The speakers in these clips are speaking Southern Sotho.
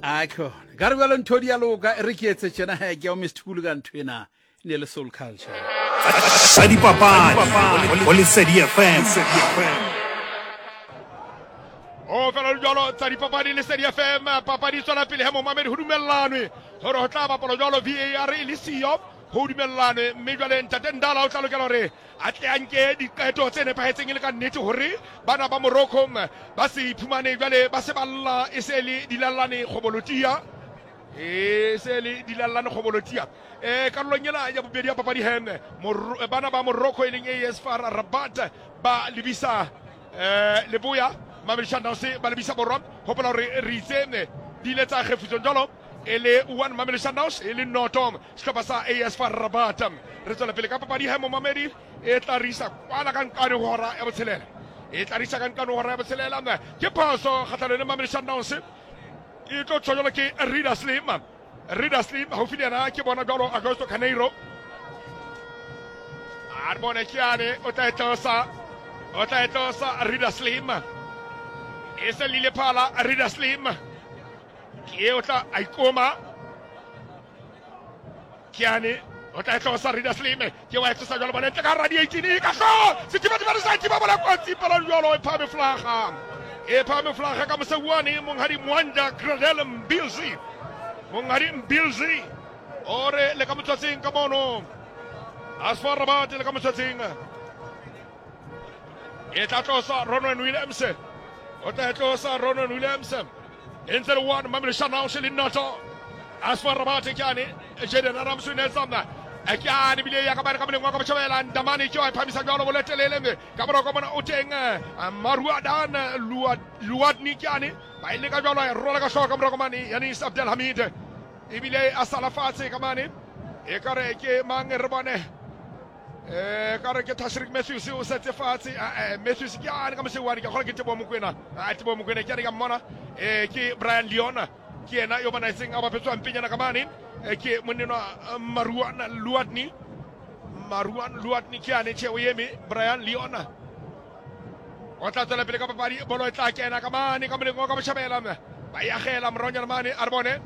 A khona ka re bjalo ntho di a loka e re ke etse tjena he ke ya o Mr. Kulu ka ntho ena e ne le soul culture. Tsa dipapadi go Lesedi FM. O fela le jalo tsa dipapadi Lesedi FM papadi e tswela pele he momamedi ho dumellanwe gore ho tla bapalwa jalo VAR e le siyo ho dumellanwe mme jwale ntate Ndala o tla lokela hore a tle a nke diqeto tse nepahetseng e le ka nnete hore bana ba Morocco ba se iphumane jwale ba se ba lla e se le dilallane kgobolotia e se le dilallane kgobolotia e karolong ena ya bobedi ya papadi he bana ba Morocco e leng AS FAR Rabat ba lebisa leboya Mamelodi Sundowns ba lebisa borwa hopola hore re itse di ile tsa kgefutsong jwalo e le 1 Mamelodi Sundowns e le noto sehlopha sa AS FAR Rabat. Re tswela pele ka papadi he momamedi e tla re isa kwana ka nqane ho hora ya botshelela. E tla re isa ka nqane ho hora ya botshelela. Ke phoso kgahlanong le Mamelodi Sundowns. E tlo tshwa jwalo ke Rida Slim. Rida Slim haufi le yena ke bona jwalo Augusto Carneiro. A re bone ke yane o tla e tlosa. O tla e tlosa Rida Slim. E se lile phala Rida Slim. Ke o tla a ikoma. Kiane o tla e tlosa Rida Slime ke wa e tlosa jalo bone ntle ka hara di-18 ka hlo sethibathibane sa thiba bola kotsi pala jalo e phahame flaga e phahame flaga ka moseuane monghadi Mwanja Gradel Mbilzi monghadi Mbilzi o re le ka motswatseng ka mono Asfar Rabat le ka motswatseng e tla tlosa Ronwen Williams o tla e tlosa Ronwen Williams e ntse le one Mamelodi Sundowns le noto Asfar Rabat ke ane Jaden Adams o ne tsamna ke ane bile ya ka bare ka moleng wa ka botjhabela Ndamane ke wa e phamisa jwalo boletelele ka morao ka mona o teng Maruadan Luadni ke ane ba ile ka jwalo e rola ka hlooho ka morao ka mane Yanis Abdelhamid ebile a sala fatshe ka mane e kare ke mang re bone eh ka re ke Tashrik Matthews o setse fatshe eh Matthews ke ane ka mosewane ke kgona ke Teboho Mokoena a Teboho Mokoena ke ane ka mmona eh ke Brian Leon ke yena yo banaetseng a bapetswang penyana ka mane ke monnenwa Maruan Luadni Maruan Luadni ke ane che o eme Brian Leon o tla tswela pele ka papadi bolo e tla kena ka mane ka moleng wa ka botjhabela ba e agela moronyana mane a re bone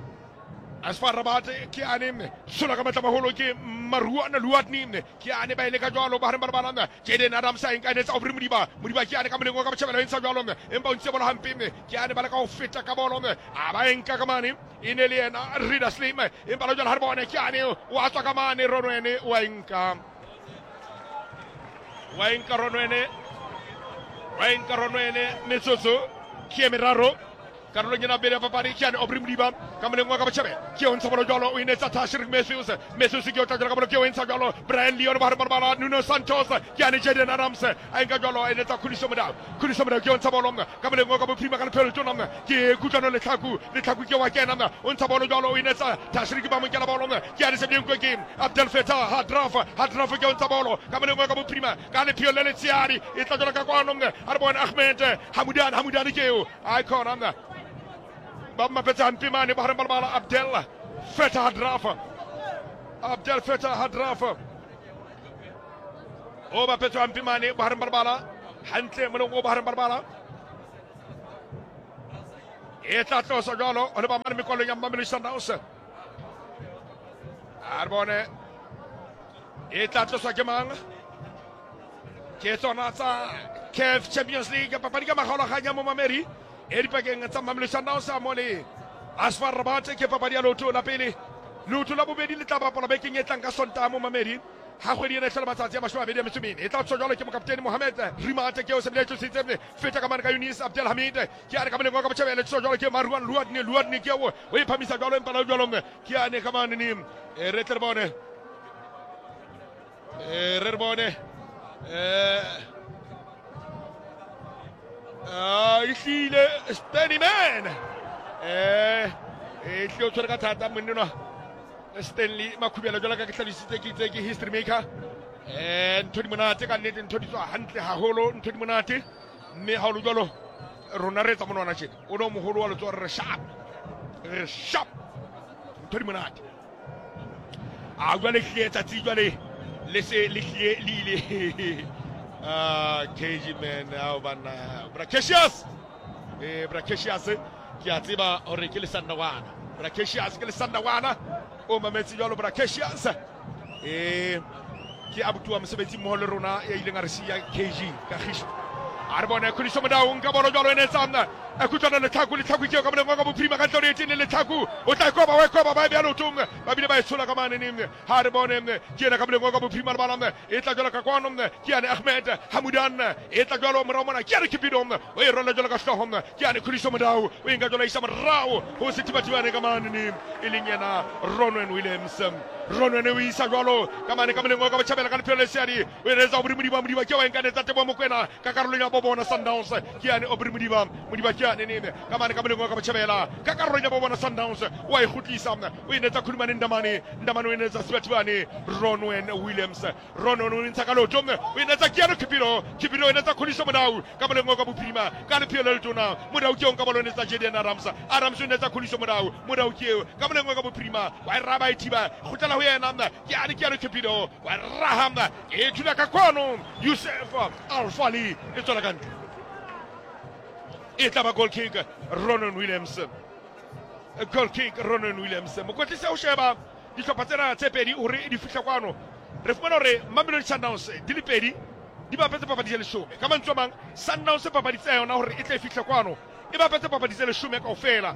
Asfar Rabat ke ane sola ka matla maholo ke Maruana Luatni ke ane ba ile ka jwalo ba hareng ba lebala Jaden Adams a enka etsa Aubrey Modiba Modiba ke ane ka moleng wa ka botjhabela e ntsha jwalo empa o ntse bolo hampe ke ane ba leka ho feta ka bolo a ba enka ka mane e ne le yena Rida Slim empa la jwalo ha re bone ke ane o a tswa ka mane Ronwene wa enka wa enka Ronwene wa enka Ronwene metsotso ke e meraro Karolong ena pele ya papadi ke ane Aubrey Modiba ka moleng wa ka botjhabela ke o ntsha bolo jwalo o inetsa Tashrik Matthews Matthews ke o tla jwalo ka bolo ke o ntsha jwalo Brian Leon ba hare bala Nuno Santos ke ane Jaden Adams a nka jwalo a inetsa Khuliso Modau Khuliso Modau ke o ntsha bolo ka moleng wa ka bophirima ka lephelo letona ke Kutlwano Letlhaku Letlhaku ke wa kena o ntsha bolo jwalo o inetsa Tashrik ba mo nkela bolo ke ane Sebjenko ke Abdel Fattah Hadraf Hadraf ke o ntsha bolo ka moleng wa ka bophirima ka lephelo le letshehadi e tla jwalo ka kwano a re bone Ahmed Hamudan Hamudan ke eo Ai khona mna. Ba mapetse hampe mane ba hareng ba lebala Abdel Fattah Hadrafa. Abdel Fattah Hadrafa. O bapetswe hampe mane ba hareng ba lebala hantle moleng o ba hareng ba lebala. E tla tlosa jwalo ho leba mane mekwalong ya Mamelodi Sundowns. A re bone e tla tloswa ke mang? Ke tsona tsa CAF Champions League papadi ka makgaolakgang ya momamedi e dipakeng tsa Mamelodi Sundowns mo le Asfar Rabat ke papadi ya leoto la pele leoto la bobedi le tla bapalwa bekeng e tlang ka Sontaha momamedi ha kgwedi ena e hlola matsatsi a 24 e tla tswa jwalo ke mokaptene Mohamed Rimate ke o sebile tlositse feta ka mane ka Yunis Abdelhamid ke a re ka moleng wa ka botjhabela tswa jwalo ke Maruan Luadne Luadne ke o o e phamisa jwalo empa la jwalo ke ane ka mane ni re tle re bone Eh, re re bone eh ah ehlile Stanley man eh e hlile o tshwere ka thata monnenwa Stanley Makhubela jwalo ka ke hlalositse ke itse ke history maker eh ntho di monate ka nnete ntho di tswa hantle haholo ntho di monate mme ha o le jwalo rona re etsa monwana tjena o ne o moholo wa letsoho re sharp re sharp ntho di monate a jwale hlile tsatsi jwale le se le hlile le ile ah KG man ao banna bra Cassius eh bra Cassius Ke a tseba hore ke Lesandawana. Brakesius ke Lesandawana. O mametse jwalo Brakesius. E ke abuti wa mosebetsi mmoho le rona ya ileng a re siya KG ka Gisho. A re bone Khuliso Modau nka bolo jwalo ene tsamna. E kutlwana Letlhaku, Letlhaku ke ka moleng wa ka bophirima ka ntle ho etene Letlhaku. O tla koba wa koba ba e beha leotong. Ba bile ba e tshola ka mane neng. Ha re bone ke yena ka moleng wa ka bophirima lebala e tla jwalo ka kwano ke yane Ahmed Hamudan e tla jwalo morao mona ke yane Kipido o e rwala jwalo ka hlooho ke yane Khuliso Modau o e nka jwalo isa morao ho sethibathibane ka mane e leng yena Ronwen Williams. Ronwen o isa jwalo ka mane ka moleng wa ka botjhabela ka lephelo le seadi o e retsa Aubrey Modiba. Modiba ke wa e nka netsa Teboho Mokoena ka karolong ya bobona Sundowns ke yane Aubrey Modiba. Modiba ke yane nene ka mane ka moleng wa ka botjhabela ka karolong ya bobona Sundowns o a e kgutlisa o e netsa Khulumane Ndamane. Ndamane o e netsa Sebathibane Ronwen Williams. Ronwen o ntsha ka leoto o e netsa Keanu Khipiro. Khipiro o e netsa Khuliso Modau ka moleng wa ka bophirima ka lepheo le letona. Modau ke eo nka bolo o netsa Jaden Adams. Adams o netsa Khuliso Modau. Modau ke eo ka moleng wa ka bophirima wa e raba e thiba kgutlela ho yena ke ane Keanu Khipiro wa e raha e thula ka kwano Yusuf Alfali e tswela ka ntle e tla ba goal kick Ronan Williams. Goal kick Ronan Williams. Mokwetlisi o sheba dihlopha tsena tse pedi hore di fihla kwano. Re fumana hore Mamelodi Sundowns di le pedi di bapetse papadi tse leshome. Ka mantswe a mang, Sundowns papadi tsa yona hore e tle e fihle kwano e bapetse papadi tse leshome kaofela,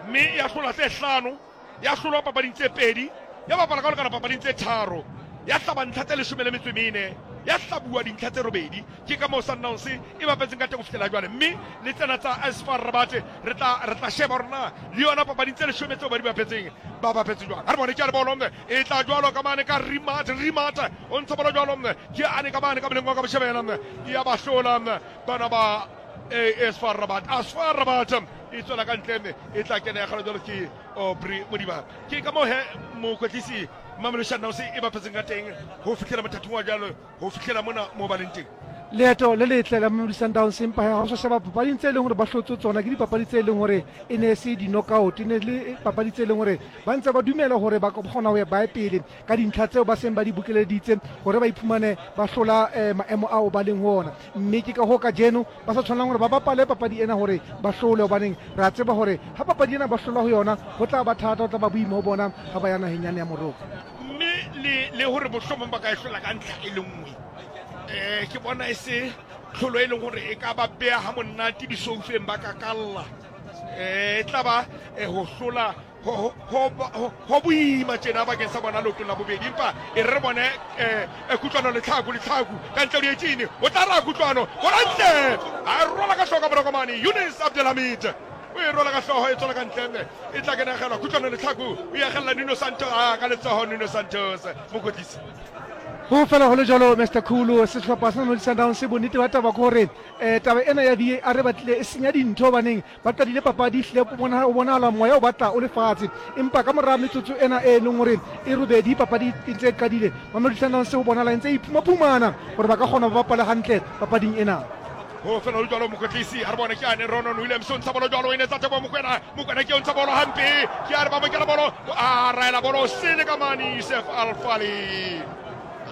mme ya hlola tse hlano, ya hlolwa papading tse pedi, ya bapala ka ho lekana papading tse tharo, ya hlaba ntlha tse leshome le metso e mene, ya hlabuwa dintlha tse robedi. Ke ka moo Sundowns e bapetseng ka teng ho fihlela jwale, mme le tsena tsa AS FAR Rabat re tla re tla sheba hore na le yona papading tse leshome tseo ba di bapetseng ba bapetse jwang. Ha re bone ke a le bolo e tla jwalo ka mane ka Rimat, Rimat o ntsha bolo jwalo ke ane ka mane ka moleng wa ka botjhabela ya ba hlola bana ba AS FAR Rabat. AS FAR Rabat e tswela ka ntle e tla kena ya kgala jwalo ke Aubrey Modiba. Ke ka moo he mokwetlisi Mamelodi Sundowns e bapetseng ka teng ho fihlela mothating wa jwalo, ho fihlela mona moo ba leng teng. Leeto le letle la Mamelodi Sundowns, empa ha o sa sheba papading tse leng hore ba hlotse tsona ke dipapadi tse leng hore e ne se di-knockout, e ne le papadi tse leng hore ba ntse ba dumela hore ba kgona ho ya bae pele ka dintlha tseo ba seng ba di bokeleditse hore ba iphumane ba hlola maemo ao ba leng ho ona. Mme ke ka hoo kajeno ba sa tshwanelang hore ba bapale papadi ena hore ba hlole, hobaneng re a tseba hore ha papadi ena ba hlola ho yona ho tla ba thata, ho tla ba boima ho bona ha ba ya naheng yane ya Morocco. Mme le le hore mohlomong ba ka e hlola ka ntlha e le nngwe, um ke bona e se tlholo e leng hore e ka ba beha ha monate disoufeng ba kakalla. Um e tla ba ho hlola ho boima tjena bakeng sa bona leotong la bobedi, empa e re re bone um kutlwano Letlhaku, Letlhaku ka ntle ho dietšene o tla ra kutlwano bona ntle a rola ka hloka morokomane Yunus Abdelhamid o e rola ka hloho e tswela ka ntle e tla kenegelwa kutlwano Letlhaku o e agella Nuno Santos a ka letsoho Nuno Santos mokwetlisi. Ho fela ho le jwalo Mister Khulu, sehlopha sa Mamelodi Sundowns bonnete ba taba ke hore um taba ena ya VAR e batlile e senya dintho, hobaneng ba qadile papadi ehlile o bonahala moya o batla o le fatshe, empa ka mora metsotso ena e leng hore e robedi papadi e ntse e qadile, Mamelodi Sundowns ho bonahala e ntse e iphumaphumana hore ba ka kgona ba bapale hantle papading ena. Ho fela ho jwalo mokwetlisi a re bone ke ane Ronon Williams o ntsha bolo jwalo o e netsa Teboho Mokoena. Mokoena ke o ntsha bolo hampe ke a re ba mokela bolo a raela bolo sele ka mane Yusuf Alfali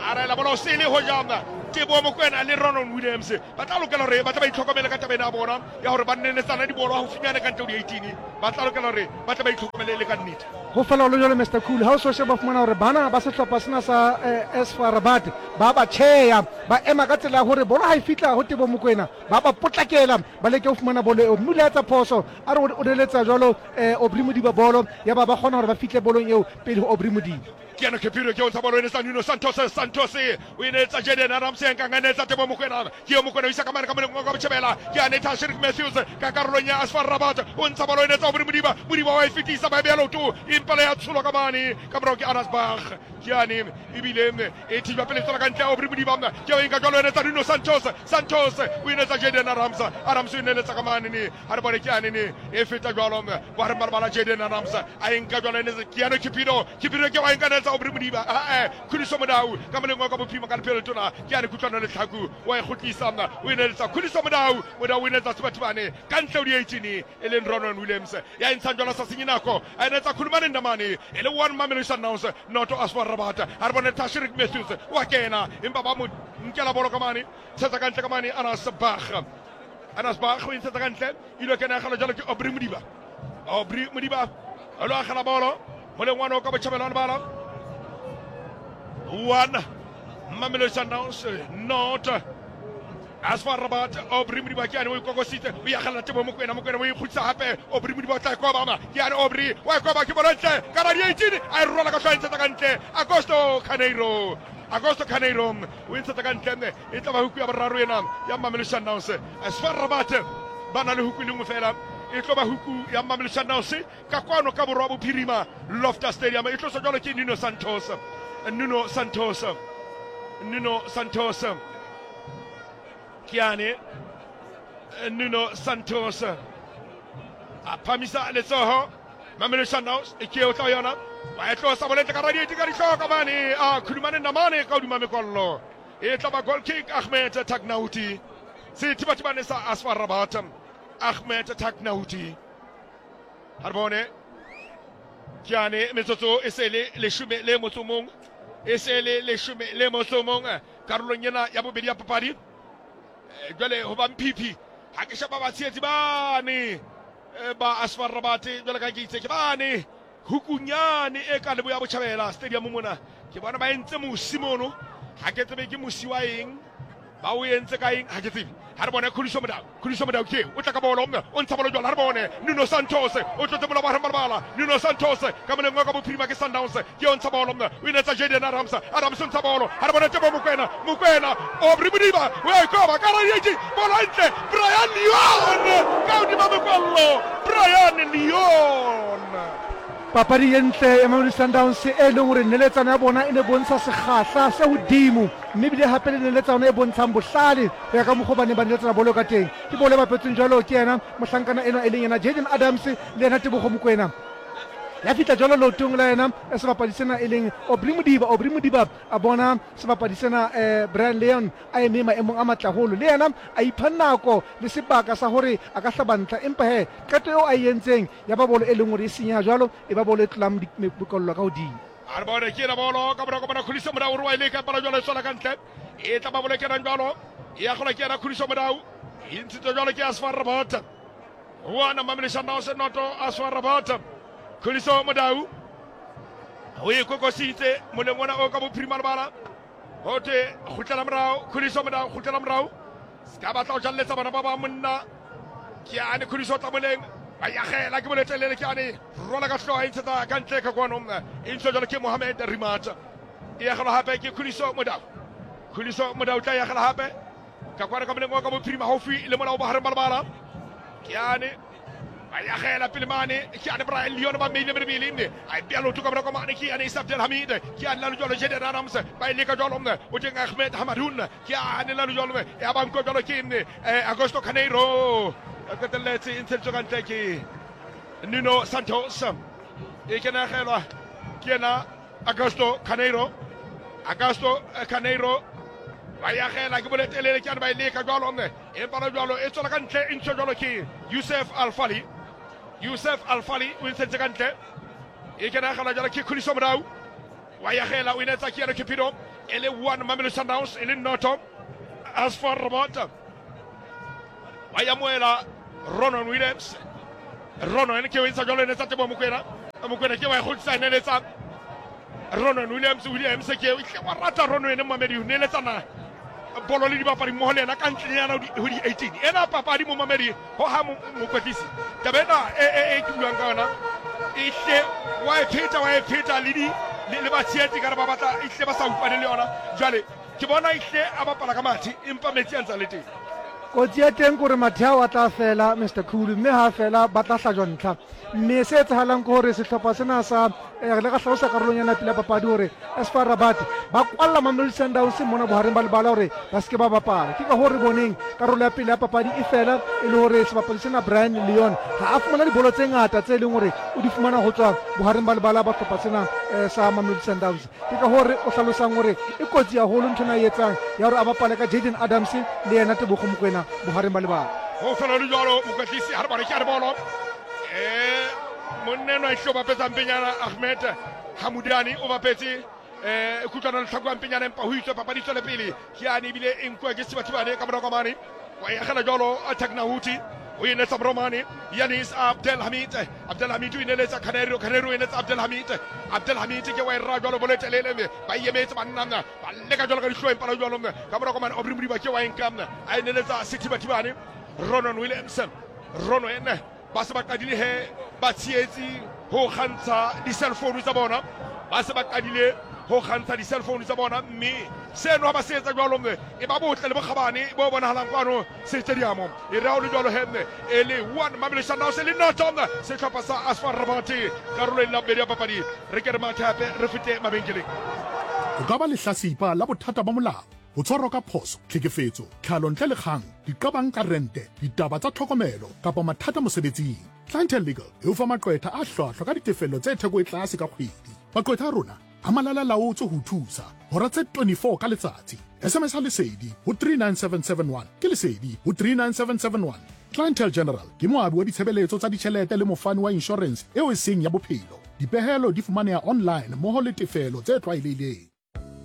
a raela bolo sele ho jam Teboho Mokoena le Ronon Williams ba tla lokela hore ba tla ba itlhokomele ka taba ena ya bona ya hore ba nenetsana dibolo haufinyane ka ntle ho di-18 ba tla lokela hore ba tle ba itlhokomele le ka nnete. Ho fela ho le jwalo Mister Cool, ha o so sheba fumana hore bana ba sehlopha sena sa AS FAR Rabat ba ba tjheya, ba ema ka tsela ya hore bolo ha e fihla ho Teboho Mokoena ba ba potlakela ba leke ho fumana bolo eo, mme o ile a etsa phoso a re o neletsa jwalo Aubrey Modiba bolo, yaba ba kgona hore ba fihle bolong eo pele ho Aubrey Modiba. Ke ena Khepiro ke o ntsha bolo e netsa Nuno Santos, Santos o e netsa Jaden Adams e nkang a netsa Teboho Mokoena, ke eo Mokoena o isa ka mane ka moleng wa ka botjhabela, ke a netha Sherik Matthews ka karolong ya AS FAR Rabat o ntsha bolo e netsa Aubrey Modiba, Modiba wa e fetisa ba e beha leoto empa le ya tsholwa ka mane ka morao ke Anas Bach, ke ane ebile e thijwa pele tswela ka ntle Aubrey Modiba ke o e nka jwalo e netsa Nuno Santos, Santos o e netsa Jaden Adams, Adams o e neletsa ka mane ne ha re bone ke ane ne e feta jwalo bohareng ba lebala Jaden Adams a e nka jwalo e netsa Keanu Cupido, Cupido ke wa e nka netsa Aubrey Modiba, a Khuliso Modau ka moleng wa ka bophirima ka lephelo letona ke ane Kutlwano Letlhaku wa e kgutlisa o e neletsa Khuliso Modau, Modau o e netsa Sebathibane ka ntle ho di-18 e leng Ronan Williams ya e ntshang jwalo sa senye nako a e netsa Khulumane Ndamane e le one Mamelodi Sundowns noto AS FAR Rabat ha re bone Tashreeq Matthews wa kena empa ba mo nkela bolo ka mane tshetsa ka ntle ka mane Anas Bach, Anas Bach o e ntshetsa ka ntle ilo kena ya galo jalo ke Aubrey Modiba. Aubrey Modiba o lo agela bolo moleng wa no ka botšhabelo wa lebala. 1 Mamelodi Sundowns 0 AS FAR Rabat. Aubrey Modiba ke ane o ikokositse, o iagelela Tebo Mokwena, Mokwena o ikgutsa gape. Aubrey Modiba o tla e kobama, ke ane Aubrey wa e koba, ke bolo ntle ka ra di-18, a e rola ka tlhoa, e ntshetsa ka ntle. Augusto Carneiro, Augusto Carneiro o e ntshetsa ka ntle, mme e tla ba huku ya boraro ena ya Mamelodi Sundowns. AS FAR Rabat ba na le huku e le nngwe fela, e tlo ba huku ya Mamelodi Sundowns ka kwano ka borwa bophirima Loftus Stadium. E tloswa jalo ke Nuno Santos, Nuno Santos, Nuno Santos ke ane Nuno Santos a phamisa letsoho. Mamelodi Sundowns e ke o tla yona wa e tlosa bolentle ka radiate ka ditlhoka mane a khulumane namane ka hodima mekwallo, e tla ba goal kick. Ahmed Tagnauti sethibathibane sa AS FAR Rabat, Ahmed Tagnauti ha re bone ke ane metsotso e se le leshome le motso mong, e se le leshome le motso mong karolong ena ya bobedi ya papadi. Jwale ho ba mphiphi ha ke sheba batshehetsi bane ba AS FAR Rabat, jwale ka ke itse ke bane hukunyane e ka leboya botjhabela stadium mona, ke bona ba entse mosi mono, ha ke tsebe ke mosi wa eng, ba o entse ka eng, ha ke tsebe. Ha re bone Khuliso Modau, Khuliso Modau ke o tla ka bolo, o ntsha bolo jwale. Ha re bone Nuno Santos o tlotse mola wa balabala. Nuno Santos ka moleng wa ka bophirima ke Sundowns, ke o ntsha bolo, o inetsa Jaden Adams, Adams o ntsha bolo. Ha re bone Tebo Mokwena, Mokwena Aubrey Modiba o a ikoba ka radiate, bolo ntle, Brian Leon ka hodima mekwallo, Brian Leon. Papadi ye ntle ya Mamelodi Sundowns e leng hore neletsano ya bona e ne bontsha sekgahla se hodimo, mme ebile hape le neletsano e bontshang bohlale ho ya ka mokgwa ba neng ba neletsana bolo ka teng. Ke bolo e bapetsweng jwalo ke yena mohlankana enwa e leng yena Jaden Adams le yena Tebogo Mokoena. Ya fihla jwalo leotong la yena sebapadi sena e leng Aubrey Modiba. Aubrey Modiba a bona sebapadi sena Brian Leon a eme maemong a matle haholo, le yena a ipha nako le sebaka sa hore a ka hlaba ntlha, empa he qeto eo a e entseng ya ba bolo e leng hore e senyeha jwalo, e ba bolo e tlolang mekollo ka hodimo. A re bone ke ena bolo ka morako bona Khuliso Modau o re wa e leka, empa jwalo e tswela ka ntle, e tla ba bolo e kenang jwalo, e ya gola ke ena Khuliso Modau, e ntshitswe jwalo ke AS FAR Rabat. 1 Mamelodi Sundowns 0 AS FAR Rabat. Khuliso Modau o e kokositse moleng ona o ka bophirima lebala, ho thwe kgutlela morao Khuliso Modau, kgutlela morao, se ka batla ho jalletsa bana ba ba monna. Ke ane Khuliso tla moleng, ba yagela ke boletelele, ke ane rwala ka hloha, e ntshetsa ka ntle ka kwano, e ntshwa jwalo ke Mohamed Rimat, e yagelwa hape ke Khuliso Modau. Khuliso Modau tla yagela hape ka kwano ka moleng wa ka bophirima haufi le molao bohareng ba lebala, ke ane ba yagela pele mane, ke ane Brian Leon ba meile merebele, mme a e bea lotho ka morako mane, ke ane Isa Abdelhamid, ke ane lalo jwalo Jaden Adams ba e leka jwalo, o teng Ahmed Hamadun, ke ane lalo jwalo ya ba nkwa jwalo ke Augusto Carneiro, a qetelletse e ntsheditswe ka ntle ke Nuno Santos, e kenagelwa ke yena Augusto Carneiro, Augusto Carneiro ba yagela ke boletelele, ke ane ba e leka jwalo, empa la jwalo e tswela ka ntle, e ntshwa jwalo ke Youssef Alfali, Youssef Alfali o ntsheditse ka ntle, e kenagela jwalo ke Khuliso Modau wa yagela, o inetsa ke yena Cupido, e le 1 Mamelodi Sundowns e le 0 AS FAR Rabat. Wa yamoela Ronon Williams, Ronon ke o ntsha jwalo, e netsa Teboho Mokoena, Mokoena ke wa e kgutlisa, e neletsa Ronon Williams, Williams ke o wa rata Ronon momamedi, o neletsana bolo le dibapadi mmoho le yena ka ntlenyana ho di-18 ena papadi momamedi ho ha mokwetlisi taba ena e ke buang ka yona, e hle wa e pheta, wa e pheta le di le batshehetsi ka re ba batla e hle ba sa utlwane le yona. Jwale ke bona e hle a bapala ka mathe, empa metsi a ntse a le teng. Kotsi ya teng kore mathe ao a tla fela Mr Khulu, mme ha fela ba tla hlajwa ntlha, mme se etsahalang ke hore sehlopha sena sa re le ka hlalosa karolong ya pele ya papadi hore AS FAR Rabat ba kwalla Mamelodi Sundowns mona bohareng ba lebala hore ba seke ba bapala. Ke ka hoo re boneng karolo ya pele ya papadi e fela e le hore sebapadi sena Brian Leon ha a fumana dibolo tse ngata tse leng hore o di fumana ho tswa bohareng ba lebala ba hlopha sena sa Mamelodi Sundowns. Ke ka hoo re o hlalosang hore e kotsi haholo ntho ena e etsang ya hore a bapale ka Jaden Adams le yena Tebogo Mokoena bohareng ba lebala. Ho fela le jwalo mokwetlisi ha re bone ke a re bolo monna enwa e hlo bapetsa mpenyana Ahmed Hamudani o bapetse kutlwana le tlhako ya mpenyana, empa ho itswe papadi tswele pele, ke ane ebile e nkuwa ke Sebathibane ka morako mane wa e agela jwalo Tagnahuti. O ineletsa Bromane, Yanis Abdelhamid, Abdelhamid o ineletsa Caneiro, Caneiro o ineletsa Abdelhamid, Abdelhamid ke wa e ra jwalo bolo e telele mme ba e emetse banna ba leka jwalo ka dihlooho empa jwalo ka mora komane Aubrey Modiba ke wa e nka a ineletsa Sethibathibane Ronon Williams, Ronwen ba se ba qadile he ba tshietsi ho kgantsha di-cell phone tsa bona, ba se ba qadile ho kgantsha di-cell phone tsa bona, mme seno ha ba se etsa jwalo e ba botle le bokgabane bo bonahalang kwano setediamo. E re ha o le jwalo he e le 1 Mamelodi Sundowns le noto sehlopha sa ASFAR Rabat karolong la bobedi ya papadi. Re ke re mathe hape re fete mabenkeleng. O ka ba lehlasipa la bothata ba molao, ho tshwarwa ka phoso, tlhekefetso, tlhalo ntle le kgang, diqabang ka rente, ditaba tsa tlhokomelo kapa mathata mosebetsing. Clientele Legal e o fa maqwetha a hlwahlwa ka ditefello tse theko e tlase ka kgwedi. Maqwetha a rona a malala-laotswe ho o thusa hora tse 24 ka letsatsi. SMS Lesedi ho 39771 ke Lesedi ho 39771. Clientele General ke moabi wa ditshebeletso tsa ditjhelete le mofani wa inshorense eo e seng ya bophelo. Dipehelo di fumaneha online mmoho le tefelo tse tlwaelehileng.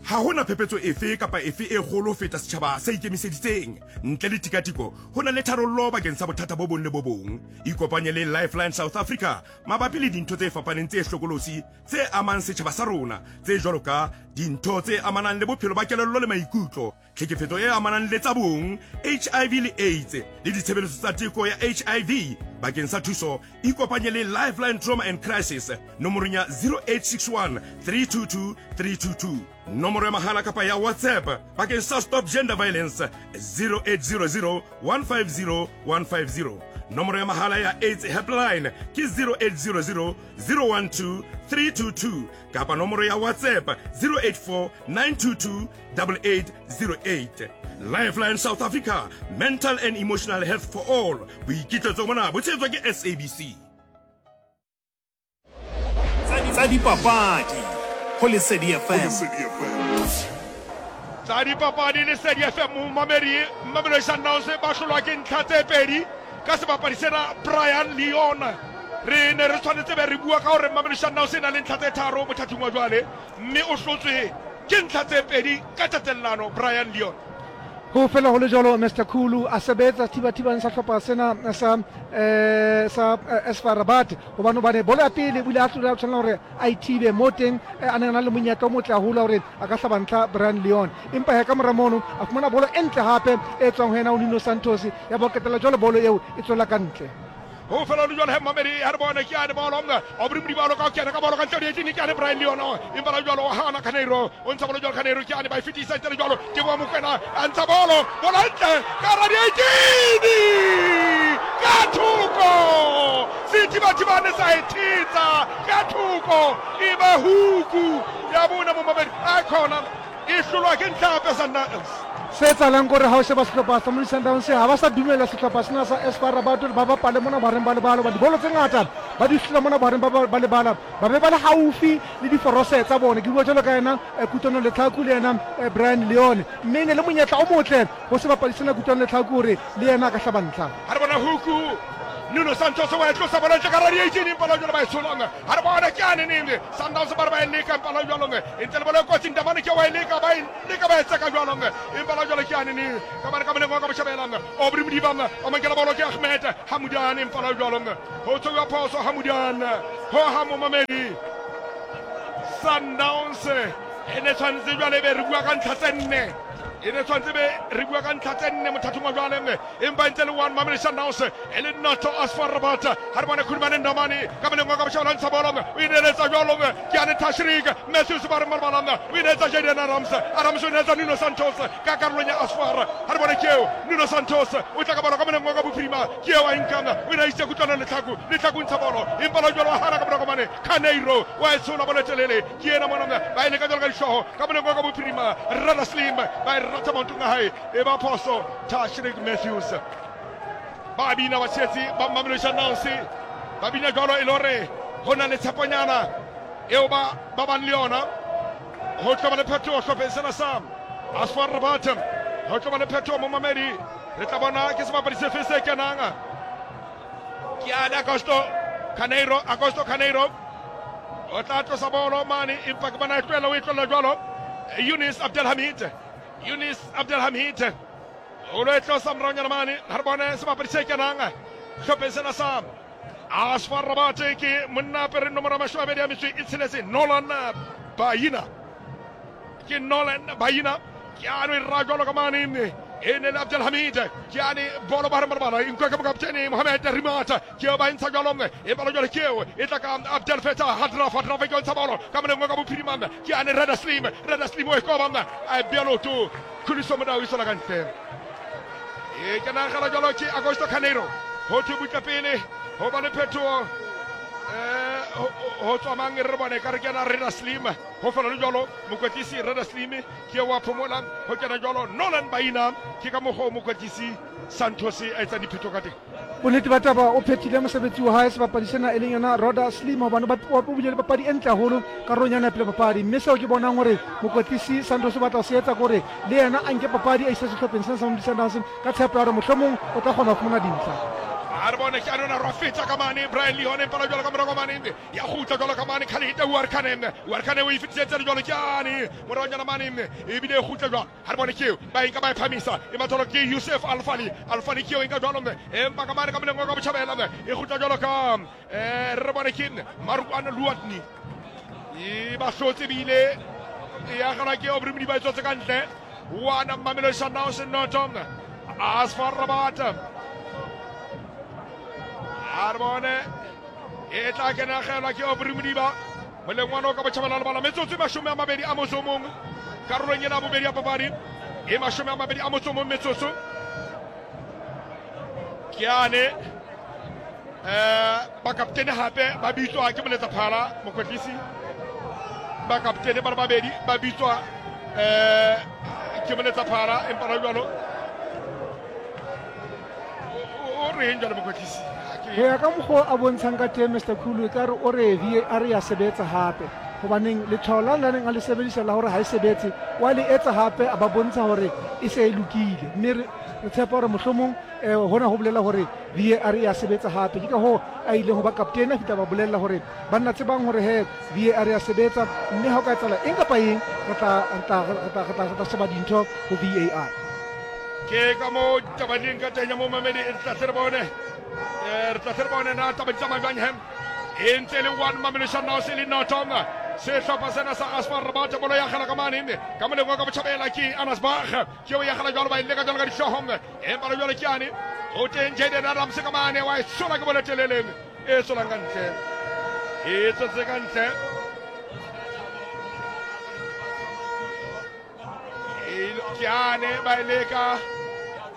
Ha ho na phephetso efe kapa efe e kgolo ho feta setjhaba se ikemiseditseng. Ntle le tikatiko, ho na le tharollo bakeng sa bothata bo bong le bo bong. Ikopanye le Lifeline South Africa mabapi le dintho tse fapaneng tse hlokolosi tse amang setjhaba sa rona, tse jwalo ka dintho tse amanang le bophelo ba kelello le maikutlo, tlhekefetso e amanang le tsa bong, HIV le AIDS, le ditshebeletso tsa teko ya HIV. Bakeng sa thuso, ikopanye le Lifeline Trauma and Crisis nomorong ya 0861 322 322. Nomoro ya mahala kapa ya WhatsApp bakeng sa Stop Gender Violence 0800 150 150. Nomoro ya mahala ya AIDS Helpline ke 0800 012 322 kapa nomoro ya WhatsApp 084 922 8808. Lifeline South Africa, mental and emotional health for all. Boikitletso bona bo tshehetswa ke SABC. Tsa dipapadi go Lesedi FM. Tsa dipapadi Lesedi FM momamedi Mamelodi Sundowns ba hlolwa ke ntlha tse pedi ka sebapadi sena Brian Leon. Re ne re tshwanetse be re bua ka gore Mamelodi Sundowns e na le ntlha tse tharo mothating wa jwale mme o hlotswe ke ntlha tse pedi ka tatellano Brian Leon. Ho fela ho le jwalo Mr Khulu a sebetsa thibathibang sa hlopha sena sa eh, sa eh, SFA Rabat hobane hobane bolo ya pele o ile a tlola tshwanela hore a ithibe mo teng eh, a neng a na le monyetla o motle haholo hore a ka hlaba ntlha Brian Leon, empa he ka mora mono a fumana bolo e ntle hape e tswang ho yena o Nuno Santos ya bo qetella jwale bolo eo e tswela ka ntle. Ho fela le jwale he Mamedi ha re bone ke ane bolo Aubrey Modiba ka kena ka bolo ka ntle di ke ane Brian Leon empa la jwalo hana Caneiro o ntsha bolo jwalo Caneiro ke ane ba e fetisa ntle le jwalo ke bo Mokwena a ntsha bolo bolo ntle ka ra di 18 ka thoko Sethibathibane sa e thetsa ka thoko e ba huku ya bona mo Mamedi a khona e hlolwa ke ntlha hape Sundowns. Se etsahalang kore ha o sheba sehlopha sa Mamelodi Sundowns ha ba sa dumella sehlopha sena sa SFA Rabat hore ba bapale mona bohareng ba lebala hoba dibolo tse ngata ba di hlola mona bohareng ba lebala ba be ba le haufi le diforose tsa bona. Ke bua jwalo ka yena Kutlwano Letlhaku le yena Brian Leone, mme e ne le monyetla o motle ho sebapadi sena Kutlwano Letlhaku hore le yena a ka hlaba ntlha. Ha re bona huku Nuno Santos wa e tlosa bolo ntle ka ra di-18 empa la jwalo ba e tsholang. Ha re bona ke ane neng Sundowns ba re ba e leka empa la jwalo e ntse le bolo e kotsi Ndamane ke wa e leka ba e leka ba e tseka jwalo empa la jwalo ke ane neng ka bana ka moleng wa ka botjhabela Aubrey Modiba o mankela bolo ke Ahmed Hamudan empa la jwalo ho tshwauwa phoso Hamudan ho ha momamedi Sundowns e ne tshwanetse jwale be re bua ka ntlha tse nne e ne tshwanetse be re bua ka ntlha tse nne mothathong wa jwale empa e ntse le 1 Mamelodi Sundowns e le noto ASFAR Rabat. Ha re bone Khulumane Ndamane ka moleng wa ka botjhabela ntsha bolo o ineletsa jwalo ke ane Tashrik Matthews ba re malbalana o ineletsa Jaden Adams, Adams o ineletsa Nuno Santos ka karolong ya ASFAR. Ha re bone ke eo Nuno Santos o tla ka bolo ka moleng wa ka bophirima ke eo a inkang o ina itse kutlwana Letlhaku, Letlhaku ntsha bolo empa la jwalo wa hana ka morako mane Caneiro wa e tshola bolo e telele ke ena mona ba e leka jwalo ka dihlooho ka moleng wa ka bophirima Rada Slim ba e ratha maotong a hae e ba phoso Tashrik Matthews. Ba bina batshehetsi ba Mamelodi Sundowns ba bina jwalo e le hore ho na le tsheponyana eo ba ba bang le yona ho tlo ba le phetoho hlopheng sena sa ASFAR Rabat. Ho tlo ba le phetoho mo mamedi re tla bona ke sebapadi sefe se kenang ke ane Augusto Caneiro. Augusto Caneiro o tla tlosa bolo mane empa ke bona e tlohela o e tlohela jwalo Yunis Abdelhamid. Yunis Abdelhamid o lo e tlosa moraonyana mane. Ha re bone sebapadi se kenang Hlopheng sena sa AS FAR Rabat ke monna apere nomoro ya 28 a metso e tsheletse Nolan Bayina. Ke Nolan Bayina ke ano e ra jwalo ka mane e ne le Abdelhamid ke ane bolo ba re malabala e nkwa ke mokaptene Mohamed Rimata ke eo ba e ntsha jwalo e balo jwalo ke eo e tla ka Abdel Fattah Hadraf Hadraf ke o ntsha bolo ka moleng ka bophirima ke ane Reda Slim Reda Slim o e koba a bea loto Khuliso Modau e sola ka ntle e ke nagela jalo ke Augusto Carneiro ho thwe butle pele ho ba le phetoho um ho tswa mang re bone ka re kena Reda Slim ho fela le jalo mokwetlisi Reda Slim ke wa phomola ho kena jalo Nolan Baina ke ka mokgwa o mokwetlisi Santos a etsang diphetho ka teng. Bonnete ba taba o phethile mosebetsi wa hae sebapadi sena e leng yona Roda Slim hobane o bile le papadi e ntle haholo karolong yona ya pele papadi mme seo ke bonang hore mokwetlisi Santos o batla ho se etsa ke hore le yena a nke papadi a ise sehlopheng sena sa Mamelodi Sundowns ka tshepo ya hore mohlomong o tla kgona ho fumana dintlha. A re bone ke a nona rwa feta ka mane Brian Leone mpala jwalo ka morago mane ya kgutla jwalo ka mane Khalid Warkane Warkane o e fetisetse jwalo ke ane moraonyana mane ebile e kgutla jwalo ha re bone ke eo ba enka ba e phamisa e matholo ke Yusuf Alfali Alfali ke eo enka jwalo empa ka mane ka moleng wa ka botjhabela e kgutla jwalo ka re bone ke Maruan Luatni e ba hlotse ebile e agelwa ke Aubrey Modiba e tswetse ka ntle 1 Mamelodi Sundowns noto AS FAR Rabat a re bone e tla kenagelwa ke Aubrey Modiba moleng wa noka botjhabela lebala metsotso e 21 karolong ena ya bobedi ya papadi e 21 metsotso ke ane bakaptene hape ba bitswa ke moletsaphala mokwetlisi bakaptene ba le babedi ba bitswa ke moletsaphala empa la jalo o reng jalo mokwetlisi ho ya ka mokgwa a bontshang ka teng Mr Khulu e ka re o re VAR ya sebetsa hape hobaneng letshwao la nang a le sebedisa la hore ha e sebetse wa le etsa hape a ba bontsha hore e se e lokile mme re tshepa hore mohlomong hona ho bolela hore VAR ya sebetsa hape ke ka hoo a ileng ho ba kaptene a fihla ba bolella hore banna tsebang hore he VAR ya sebetsa mme ha o ka etsahala eng kapa eng re tla sheba dintho ho VAR. Ke ka moo taba di leng ka teng ya momamedi re tla tle re bone re tla tle re bone na taba di tsamaya jwang he e ntse e le 1 Mamelodi Sundowns e le noto sehlopha sena sa AS FAR Rabat bolo ya gela ka mane ka moleng wa ka botjhabela ke Anas Bach ke o ya gela jwalo ba e leka jwalo ka dihlooho empa le jwalo ke ane o teng Jaden Adams ka mane wa e sola ke bolo telele e tswelang ka ntle e tswetse ka ntle ke ane ba e leka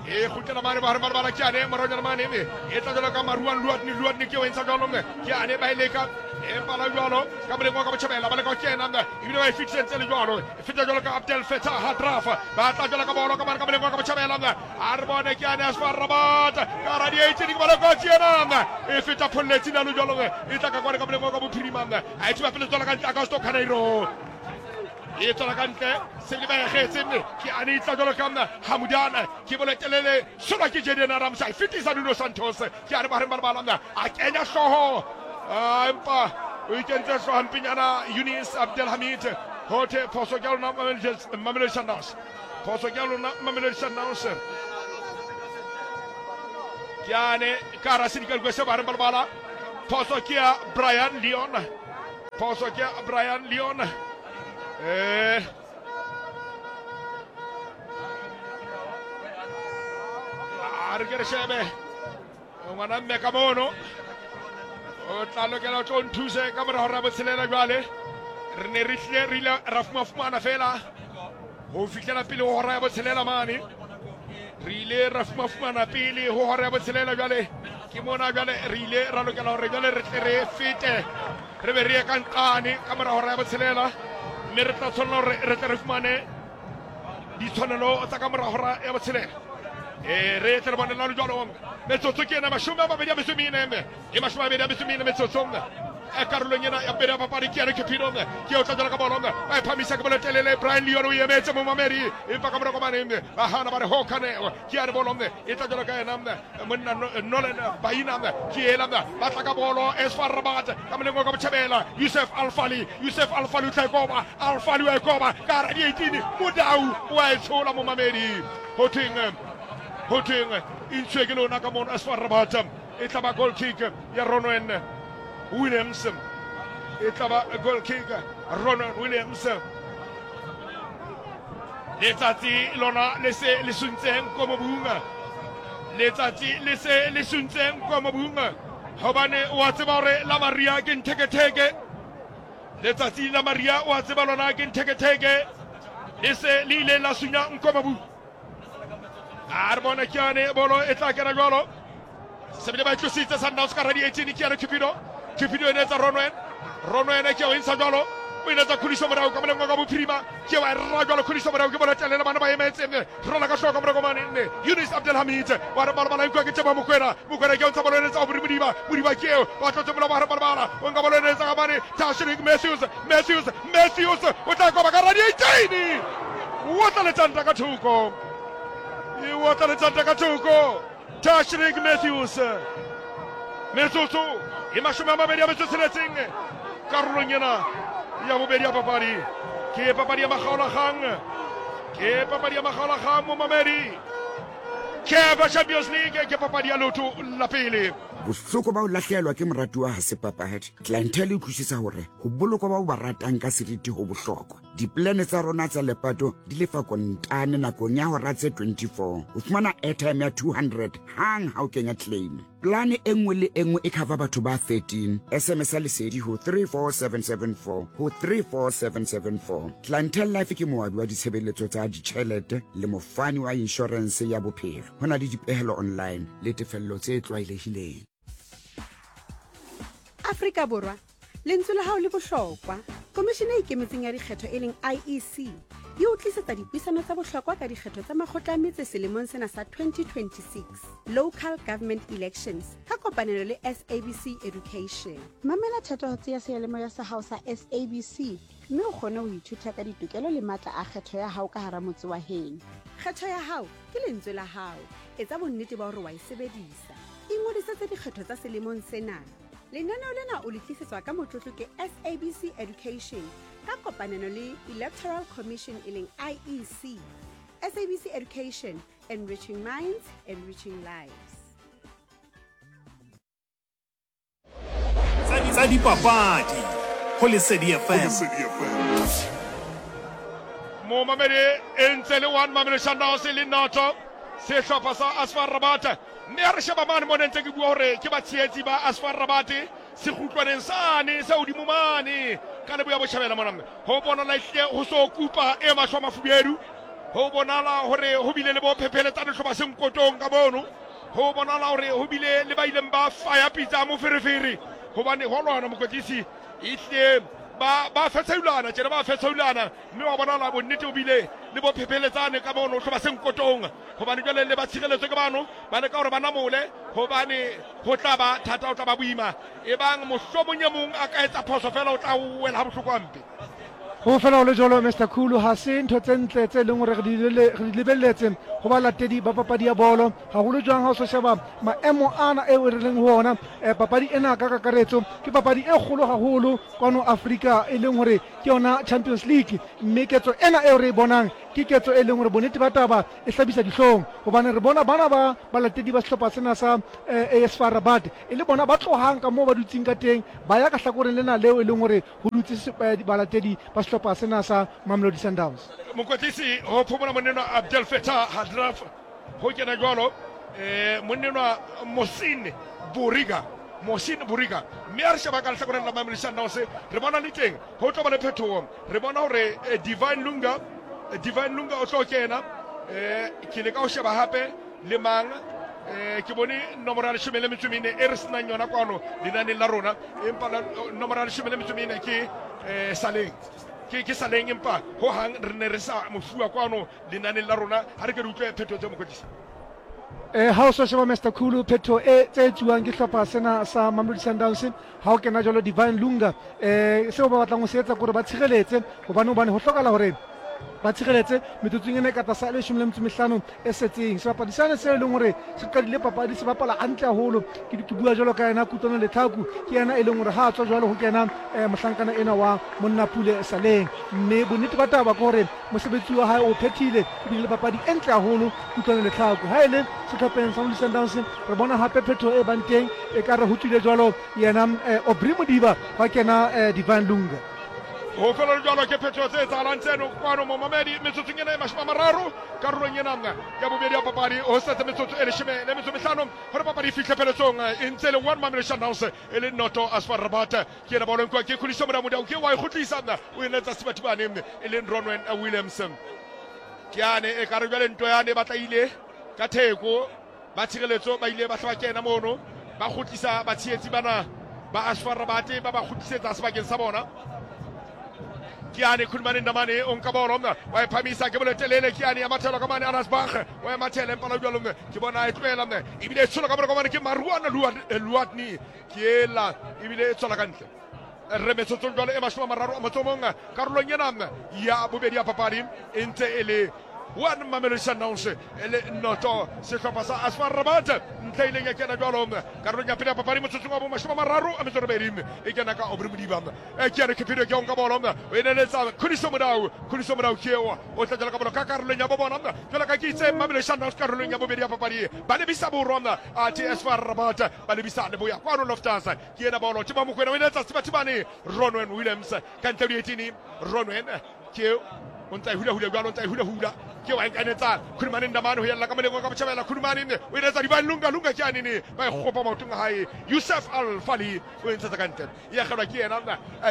e kgutlela mane ba re ba ke ane moronyana mane me e tla jalo ka Maruan Luatni Luatni ke o entsha jalo mme ke ane ba e leka empa la jalo ka moleng wa ka botjhabela ba leka ho kena mme ebile ba e fetisentse le jalo e feta jalo ka Abdel Fattah Hadraf ba tla jalo ka bolo ka mane ka moleng wa ka botjhabela mme a re bone ke ane AS FAR Rabat ka hara di-18 ke bolo kotsi ena mme e feta pholletsi na le jalo mme e tla ka kwane ka moleng wa ka bophirima mme a e thiba pele tswala ka ntle Augusto Carneiro e tswela ka ntle sebele ba egetse mme ke ane e tla jalo ka Hamudana ke bolo telele solwa ke Jaden Adams a e fetisa Nuno Santos ke ane ba reng ba lebala a kenya hlooho empa o ikentse hlooho mpenyana Yunis Abdelhamid ho thwe phoso ke ya lona Mamelodi Sundowns phoso ke ya lona Mamelodi Sundowns ke ane ka hara sedikadikwe se ba reng ba lebala phoso ke ya Brian Leon phoso ke ya Brian Leon a re ke re shebe ngwana mme ka mono o tla lokela o tlo nthuse ka mora hora botshelela jwale re ne re hlile re ile ra fumafumana fela ho fihlela pele ho hora ya botshelela mane re ile ra fumafumana pele ho hora ya botshelela jwale ke mona jwale re ile ra lokela hore jwale re tle re fete re be re ye ka nqane ka mora hora ya botshelela mme re tla tshwanela hore re tle re fumane ditshwanelo tsa ka mora hora ya botshelela re tle re bone lalo jwalo metsotso ke ena 24 e 24 metsotso karolong ena ya pele ya papadi ke ena Cupido ke o tla jala ka bolo ba e phamisa ke bolo telele Brian Leon o emetse momamedi empa ka mora komane ba hana ba re ho kane ke ane bolo e tla jala ka ena monna Nolan Baina ke ela ba tla ka bolo AS FAR Rabat ka moleng wa ka botjhabela Yusuf Alfali Yusuf Alfali o tla e koba Alfali wa e koba ka hara di-18 Modau wa e tshola momamedi ho thweng ho thweng e ntshwe ke lona ka mono AS FAR Rabat. E tla ba goal kick ya Ronwen Williams. E tla ba goal kick Ronwen Williams. Letsatsi lona le se le suntseng ko mobung. Letsatsi le se le suntseng ko mobung. Hobane wa tseba hore la Maria ke ntheketheke. Letsatsi la Maria wa tseba lona ke ntheketheke. Le se le ile la sunya nko mobung. A re bone ke yane bolo e tla kena jwalo. Se bile ba e tlositse Sundowns ka radi 18 ke yane Cupido. Cupido e ne etsa Ronwen. Ronwen ke o intsha jwalo. O ile tsa khuliso morao ka moleng wa ka bophirima. Ke wa ra jwalo khuliso morao ke bona telela bana ba emetse. Rola ka hloka morako mane nne. Yunus Abdelhamid wa re bala bala nkwa ke Tsheba Mokwena. Mokwena ke o ntsha bolo e etsa Aubrey Modiba. Modiba ke eo ba tlotse molao wa re bala bala. O nka bolo e etsa ka mane Tashrik Matthews. Matthews Matthews o tla koba ka radi 18. O tla letsanta ka thoko. E o tla letsanta ka thoko. Tashrik Matthews. Metsotso e 28 tsheletseng karolong ena ya bobedi ya papadi. Ke papadi ya makgaolakgang. Ke papadi ya makgaolakgang momamedi. CAF Champions League ke papadi ya leoto la pele. Bohloko ba ho lahlehelwa ke moratuwa ha se papadi. Clientele e utlwisisa hore ho bolokwa ba o ba ratang ka seriti ho bohlokwa. Dipolane tsa rona tsa lepato di lefa kontane nakong ya hora tse 24 ho fumana airtime ya 200 hang ha o kenya claim. Polane e nngwe le e nngwe e cover batho ba 13. SMS ya lesedi ho 34774 ho 34774. Clientele Life ke moabi wa ditshebeletso tsa ditjhelete le mofani wa inshorense ya bophelo. Ho na le dipehelo online le tefello tse tlwaelehileng. Afrika Borwa, lentswe la hao le bohlokwa. Komishene e Ikemetseng ya Dikgetho e leng IEC e o tlisetsa dipuisano tsa bohlokwa ka dikgetho tsa makgotla a metse selemong sena sa 2026, Local Government Elections, ka kopanelo le SABC Education. Mamela thatohatsi ya seyalemoya sa hao sa SABC mme o kgone ho ithuta ka ditokelo le matla a kgetho ya hao ka hara motse wa heno. Kgetho ya hao ke lentswe la hao. Etsa bonnete ba hore wa e sebedisa. Ingodisetse dikgetho tsa selemong sena. Lenaneo lena o le tlisetswa ka motlotlo ke SABC Education ka kopanelo le Electoral Commission e leng IEC. SABC Education, enriching minds, enriching lives. Tsa dipapadi go Lesedi FM. Momamedi e ntse le one Mamelodi Sundowns le noto sehlopha sa Asfar Rabat mme a re sheba mane mo ne ntse ke bua hore ke batshehetsi ba Asfar Rabat sekgutlwaneng sane sa hodimo mane ka leboya botjhabela mona ho bonala ehlile ho so kupa e mahlo a mafubedu ho bonala hore ho bile le bo phepheletsane hloba senkotong ka mono ho bonala hore ho bile le ba ileng ba faya pitsa moferefere hobane ho lwana mokwetlisi ehlile ba ba fetsheulana tjena ba fetsheulana mme wa bonala bonnete o bile le bo phepheletsane ka mono hloba senkotong hobane jwale le ba tshireletso ke bano ba leka hore ba namole hobane ho tla ba thata ho tla ba boima e bang mohlomong e mong a ka etsa phoso fela o tla wela ha bohloko hampe. Ho fela ho le jwalo, Mister Khulu, ha se ntho tse ntle tse leng hore re di lebelletse ho balatedi ba papadi ya bolo, haholo jwang ha o so sheba maemo ana eo re leng ho ona. Papadi ena ka kakaretso ke papadi e kgolo haholo kwano Afrika, e leng hore ke yona Champions League, mme ketso ena eo re e bonang ke ketso e leng hore bonnete ba taba e hlabisa dihlong, hobane re bona bana ba balatedi ba sehlopha sena sa AS FAR Rabat e le bona ba tlohang ka moo ba dutseng ka teng ba ya ka hlakoreng lena leo e leng hore ho dutse balatedi ba sehlopha sena sa Mamelodi Sundowns. Mokwetlisi ho phomola monnenwa Abdel Fattah Hadraf ho kena jwalo monnenwa Mohsin Boriga Mohsin Boriga mme a re sheba ka lehlakoreng la Mamelodi Sundowns re bona le teng ho tlo ba le phetoho re bona hore Divine Lunga Divine Lunga o tlo kena ke le ka ho sheba hape le mang ke bone nomoro ya 14 e re senang yona kwano lenaneng la rona empa nomoro ya 14 ke Saleng ke Saleng empa ho hang re ne re sa mofuwa kwano lenaneng la rona ha re ke re utlwe phetho tse mokwetlisi. Ha o so sheba Mister Khulu phetho e tse etsuwang ke hlopha sena sa Mamelodi Sundowns ha o kena jwalo Divine Lunga seo ba batlang ho se etsa ke hore ba tshireletse hobane hobane ho hlokahala hore Ba tshireletse metsotsong ena e ka tlasa 15 e setseng. Sebapadi sane se e leng hore se qadile papadi se bapala hantle haholo. Ke ke bua jwalo ka yena Kutlwano Letlhaku, ke yena e leng hore ha a tswa jwalo ho kena mohlankana ena wa monna Pule Saleng. Mme bonnete ba taba ke hore mosebetsi wa hae o phethile, ebile le papadi e ntle haholo Kutlwano Letlhaku. Ha e le sehlopheng sa Mamelodi Sundowns re bona hape phetoho e bang teng, ekare ho tswile jwalo yena Aubrey Modiba hwa kena Divine Lunga. Ho fela le jwalo ke phetoho tse etsahalang tseno kwano momamedi metsotsong ena e 30 karolong ena ya bobedi ya papadi. Ho setse metsotso e 15 gore papadi e fihle pheletsong. E ntse e le 1 Mamelodi Sundowns e le noto AS FAR Rabat. Ke ena bolo nkuwa ke Khuliso Modau ke wa e kgutlisa o e netsa Sebathibane e leng Ronwen Williams. Ke yane e kare jwale ntwa yane e batla ile ka theko. Ba tshireletso ba ile ba hla ba kena mono, ba kgutlisa batshehetsi bana ba AS FAR Rabat, ba ba kgutlisetsa sebakeng sa bona. Ke yane Khulumane Ndamane o nka bolo wa e phamisa ke bolo telele, ke yane ya mathelo ka mane Anas Bach wa e mathela empa la jwalo ke bona e tlohela ebile e tshola ka mora mane ke Maruana Luatni ke ela ebile e tswela ka ntle. Re metsotsong jwale e 31 karolong ena ya bobedi ya papadi e ntse e le 1 Mamelodi Sundowns e le noto sehlopha sa AS FAR Rabat. Ntle ileng ya kena jwalo karolong ya pele ya papadi motsotsong wa bo 38 e kena ka Aubrey Modiba. Ke yane Cupido ke onka bolo o e neletsa Khuliso Modau. Khuliso Modau ke eo o tla jala ka bolo ka karolong ya bo bona jwalo ka ke itse Mamelodi Sundowns karolong ya bobedi ya papadi ba lebisa borwa athe AS FAR Rabat ba lebisa leboya kwano Loftus. Ke ena bolo Timo Mokoena o e neletsa Sebathibane Ronwen Williams ka ntle ho dietini. Ronwen ke o ntse a hula-hula jwalo, o ntse a hula-hula ke wa nkanetsa Khulumane Ndamane ho yella ka moleng ka botjhabela. Khulumane o enetsa Divine Lunga Lunga ke anene ba e kgopa maotong a hae. Yusuf Al-Fali o e ntshetsa ka ntle, e akgelwa ke yena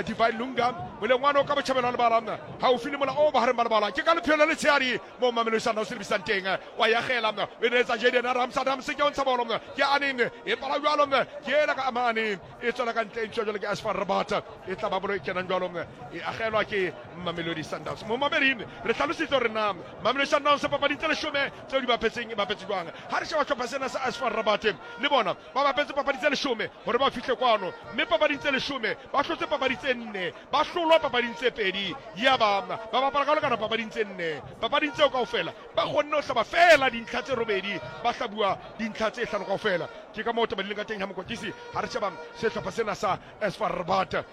Divine Lunga moleng wane o ka botjhabela wa lebala haufi le mola o bohareng ba lebala. Ke ka lepheo le letshehadi moo Mamelodi Sundowns e lebisang teng, wa e akgela o enetsa Jaden Adams. Adams ke o ntsha bolo ke anene e pala jwalo ke ela ka amane e tswela ka ntle e ntshiwa jwalo ke AS FAR Rabat. E tla ba bolo e kenang jwalo e agelwa ke Mamelodi Sundowns. Momamedi re hlalositse hore na Mamelodi Sundowns papading tse 10 tseo di bapetseng e bapetse jwang. Ha re sheba hlopha sena sa AS FAR Rabat le bona ba bapetse papadi tse 10 hore ba fihle kwano, mme papading tse 10 ba hlotse papadi tse 4, ba hlolwa papading tse 2, ya ba ba bapala ka ho lekana papading tse 4. Papading tseo kaofela ba kgonne ho hlaba feela dintlha tse 8, ba hlabuwa dintlha tse 5 kaofela. Ke ka moo taba di leng ka teng ha mokwetlisi ha re sheba sehlopha sena sa AS FAR Rabat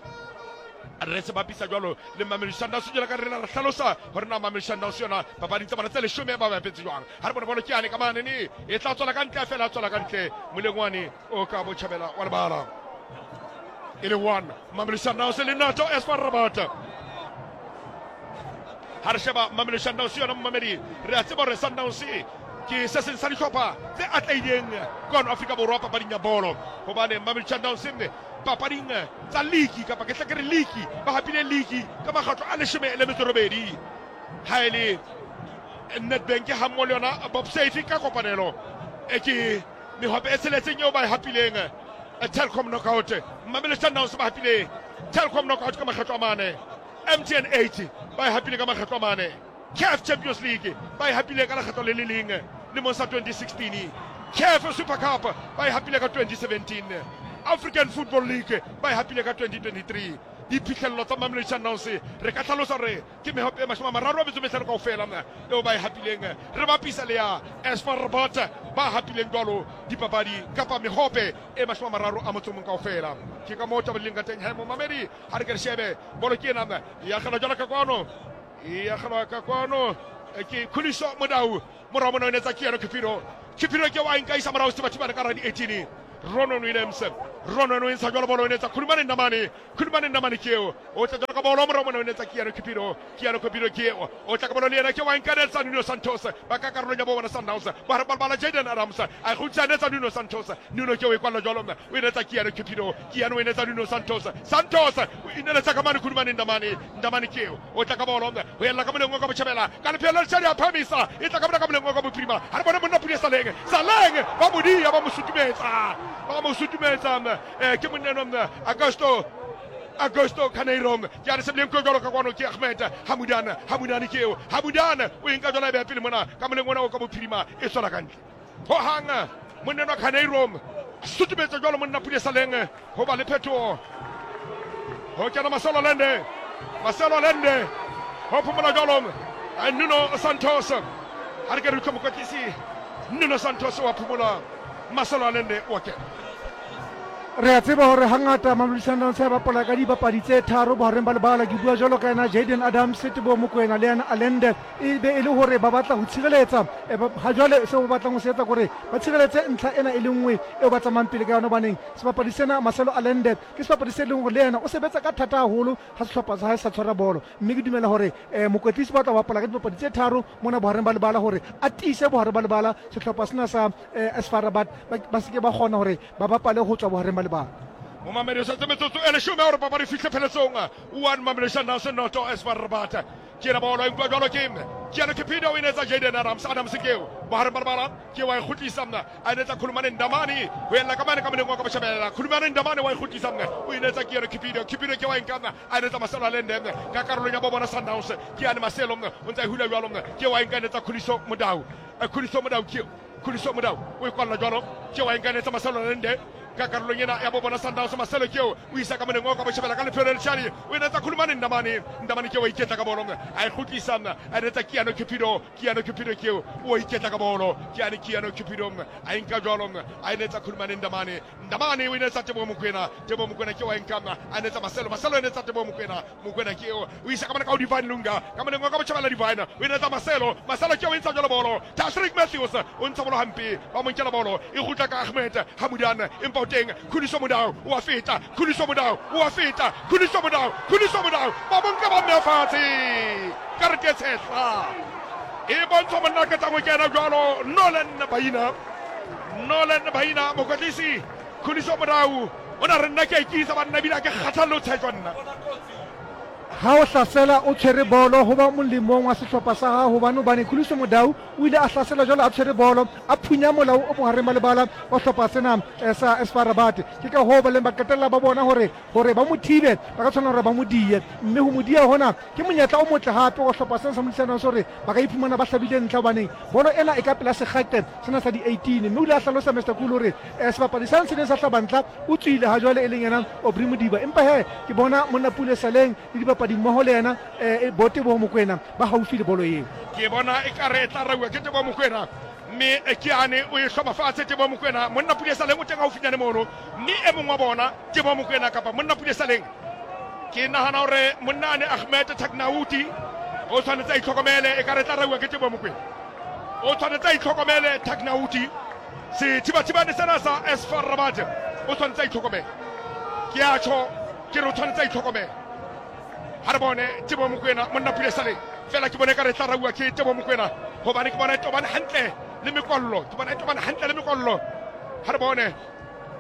re se bapisa jwalo le Mamelodi Sundowns. Jwalo ka rena re hlalosa hore na Mamelodi Sundowns yona papading tsa bona tse 10 ba bapetse jwang. Ha re bone bolo ke yane ka mane ne e tla tswela ka ntle fela, tswela ka ntle molengwane o ka botjhabela wa lebala. E le 1 Mamelodi Sundowns le noto AS FAR Rabat. Ha re sheba Mamelodi Sundowns yona momamedi re a tseba hore Sundowns ke se seng sa dihlopha tse atlehileng kwano Afrika Borwa papading ya bolo, hobane Mamelodi Sundowns papading tsa ligi kapa ke tle ke re ligi ba hapile ligi ka makgetlo a 18. Ha e le Nedbank ha mmoho le yona Bob Safe ka kopanelo e ke mehope e tsheletseng eo ba e hapileng Telkom Knockout. Mamelodi Sundowns ba hapile Telkom Knockout ka makgetlo a 4, MTN 8 ba e hapile ka makgetlo a 4, CAF Champions League ba e hapile ka lekgetlo le le leng lemong sa 2016, CAF Super Cup ba e hapile ka 2017, African Football League ba e hapile ka 2023. Diphihlello tsa Mamelodi Sundowns re ka hlalosa hore ke mehope e 35 kaofela eo ba e hapileng, re bapisa le ya AS FAR Rabat ba hapileng jwalo dipapadi kapa mehope e 31 kaofela. Ke ka moo taba di leng ka teng he momamedi. Ha re ke re shebe bolo ke ena ya kgelwa jwalo ka kwano, ya kgelwa ka kwano ke Khuliso Modau morao mona o netsa ke yena Cupido. Cupido ke wa nka isa morao Sebathibane ka radi 18 Ronon Williams. Ronon o ntsha jwalo bolo o netsa Khulumane Ndamane. Khulumane Ndamane ke eo o tla jwalo ka bolo morao mona o netsa ke yena Cupido. Ke yena Cupido ke eo o tla ka bolo le yena ke wa nka netsa Nuno Santos ba ka karolong ya bo bona Sundowns ba re bala Jaden Adams a kgutsa netsa Nuno Santos. Nuno ke o e kwalla jwalo o netsa ke yena Cupido. Ke yena o netsa Nuno Santos. Santos o ineletsa ka mane Khulumane Ndamane. Ndamane ke eo o tla ka bolo ho ella ka moleng o ka botjhabela ka lephelo le letshadi a phamisa e tla ka mona ka moleng o ka bophirima. Ha re bone monna Pule Saleng. Saleng ba modia ba mo sutumetsa, ba mo sutumetsa ke monna enwa Augusto Carneiro ke a re sebileng ko jwalo ka kwano ke Ahmed Hamudan. Hamudan ke eo, Hamudan o e nka jwalo a beha pele mona ka moleng ona o ka bophirima e tswela ka ntle ho hang. Monna enwa Carneiro sutumetsa jwalo monna Pule Saleng ho ba le phetoho ho kena Marcelo Lende. Marcelo Lende ho phomola jwalo. Nuno Santos. Ha re ke re utlwe mokwetlisi Nuno Santos wa phomola Marcelo Allende wa kena. Re a tseba hore hangata Mamelodi Sundowns e bapala ka dibapadi tse tharo bohareng ba lebala. Ke bua jwalo ka yena Jayden Adams, Teboho Mokoena le yena Allende. E be e le hore ba batla ho tshireletsa. Ha jwale seo ba batlang ho se etsa ke hore ba tshireletse ntlha ena e le nngwe eo ba tsamayang pele ka yona, hobaneng sebapadi sena Marcelo Allende ke sebapadi se leng hore le yena o sebetsa ka thata haholo ha sehlopha sa hae sa tshwara bolo. Mme ke dumela hore mokwetlisi ba tla bapala ka dibapadi tse tharo mona bohareng ba lebala hore a tiise bohare ba lebala, sehlopha sena sa AS FAR Rabat ba se ke ba kgona hore ba bapale ho tswa bohareng ba lebala. Momamedi o setse metsotso e leshome gore papadi e fihle pheletsong. 1 Mamelodi Sundowns noto AS FAR Rabat. Ke ena bolo e nkuwa jwalo ke Keanu Cupido, o e netsa Jayden Adams. Adams ke eo bohareng ba lebala, ke wa e kgutlisa a e netsa Khulumane Ndamane ho ella ka mane ka moleng wa ka botjhabela. Khulumane Ndamane wa e kgutlisa o e netsa Keanu Cupido. Cupido ke wa e nka a e netsa Marcelo Allende ka karolong ya bo bona Sundowns. Ke yane Marcelo o ntse a e hula jwalo, ke wa e nka e netsa Khuliso Mudau. Khuliso Mudau ke eo, Khuliso Mudau o e kwalla jwalo, ke wa e nka e netsa Marcelo Allende ka karolong ena ya bo bona Sundowns. Marcelo ke eo o isa ka moleng o ka botjhabela ka lepheo le letshadi, o e netsa Khulumane Ndamane. Ndamane ke o iketla ka bolo a e kgutlisa a e netsa Keanu Cupido. Keanu Cupido ke eo o iketla ka bolo, ke ane Keanu Cupido a e nka jwalo a e netsa Khulumane Ndamane. Ndamane o e netsa Teboho Mokoena. Teboho Mokoena ke wa e nka a netsa Marcelo. Marcelo e netsa Teboho Mokoena. Mokoena ke eo o isa ka mane ka ho Divine Lunga ka moleng wa ka botjhabela. Divine o e netsa Marcelo. Marcelo ke o e ntsha jwalo bolo. Tashreeq Matthews o ntsha bolo hampe, ba mo nkela bolo e kgutla ka Ahmed Hamudan, empa o teng Khuliso Mudau o a feta. Khuliso Mudau o a feta. Khuliso Mudau, Khuliso Mudau ba mo nka ba mmea fatshe. Karete e tshehla e bontshwa monna a qetang ho kena jwalo Nolan Baina. Nolan Baina mokwetlisi Khuliso Mudau o na re nna ke a ikisa banna ebile a ke kgathalle ho tshejwa nna. Ha o hlasela o tshwere bolo ho ba molemong wa sehlopha sa hao hobane hobane Khuliso Mudau o ile a hlasela jwalo a tshwere bolo a phunya molao o bohareng ba lebala wa sehlopha sena sa AS FAR Rabat. Ke ka hoo ba leng ba qetella ba bona hore hore ba mo thibe ba ka tshwanela hore ba mo diye, mme ho mo diya hona ke monyetla o motle hape wa sehlopha sena sa Mamelodi Sundowns hore ba ka iphumana ba hlabile ntlha hobaneng bolo ena e ka pela sekgaqe sena sa di-18. Mme o ile a hlalosa Mister Cool hore sebapadi sane se neng sa hlaba ntlha o tswile ha jwale e leng yena Aubrey Modiba, empa he ke bona monna Pule Saleng le dibapadi mmoho le yena bo Teboho Mokoena ba haufi le bolo eo. Ke bona ekare e tla rauwa ke Teboho Mokoena, mme ke ane o e hloma fatshe Teboho Mokoena. Monna Pule Saleng o teng haufinyane mono, mme e mong wa bona Teboho Mokoena kapa monna Pule Saleng, ke nahana hore monna ane Ahmed Tagnaouti o tshwanetse a itlhokomele, ekare e tla rauwa ke Teboho Mokoena. O tshwanetse a itlhokomele Tagnaouti, sethibathibane sena sa AS FAR Rabat, o tshwanetse a itlhokomele. Ke a tjho ke re o tshwanetse a itlhokomele. Ha re bone Teboho Mokoena, monna Pule Saleng, fela ke bone ka re tla rauwa ke Teboho Mokoena hobane ke bona e tobane hantle le mekwallo, ke bona e tobane hantle le mekwallo. Ha re bone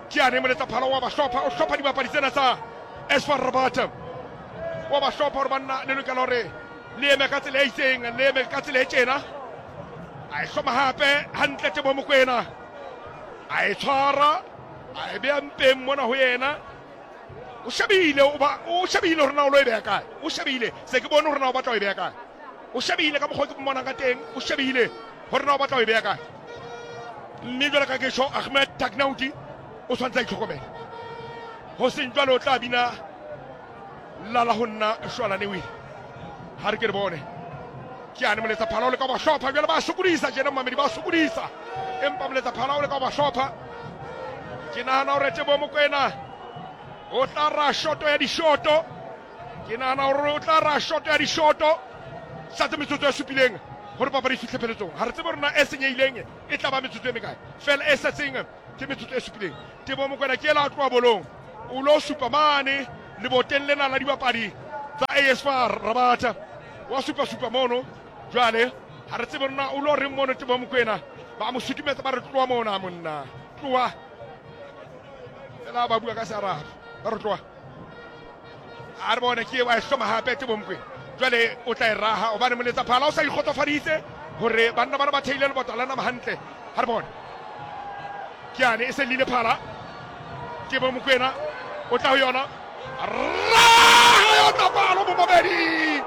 ke ane moletsa phala wa ba hlopha, o hlopha dibapadi tsena tsa AS FAR Rabat, wa ba hlopha hore banna le lokela hore le eme ka tsela e itseng, le eme ka tsela e tjena. A e hloma hape hantle Teboho Mokoena, a e tshwara a e beha mpeng mona ho yena. O shebile, o ba o shebile hore na o lo e beha kae. O shebile, se ke bone hore na o batla ho e beha kae. O shebile ka mokgwa ke mmonang ka teng, o shebile hore na o batla ho e beha kae. Mme jwale ka ke tjho, Ahmed Tagnaouti o tshwanetse a itlhokomele, ho seng jwalo o tla bina lala ho nna shwalane wile. Ha re ke re bone ke ane moletsa phala o leka ho ba hlopha jwale, ba sokodisa tjena momamedi, ba sokodisa, empa moletsa phala o leka ho ba hlopha. Ke nahana hore Teboho Mokoena o tla ra shoto ya dishoto, ke nahana hore o tla ra shoto ya dishoto. Satse metsotso e supileng hore papadi e fihle pheletsong. Ha re tsebe hore na e senyehileng e tla ba metsotso e mekae, fela e setseng ke metsotso e supileng. Teboho Mokoena ke ela a tloha bolong, o lo supa mane leboteng lena la dibapadi tsa AS FAR Rabat, wa supa supa mono. Jwale ha re tsebe rona o lo reng mono. Teboho Mokoena ba mo sutumetsa, ba re tloha mona monna, tloha fela, ba bua ka Searabe, ba re tloha. A re bone ke wa e hloma hape Teboho Mokoena, jwale o tla e raha hobane moletsa phala o sa ikgotsofaditse hore banna bana ba theile lebota la nama hantle. Ha re bone ke ane e se lile phala, Teboho Mokoena o tla ho yona, raha yona palo momamedi,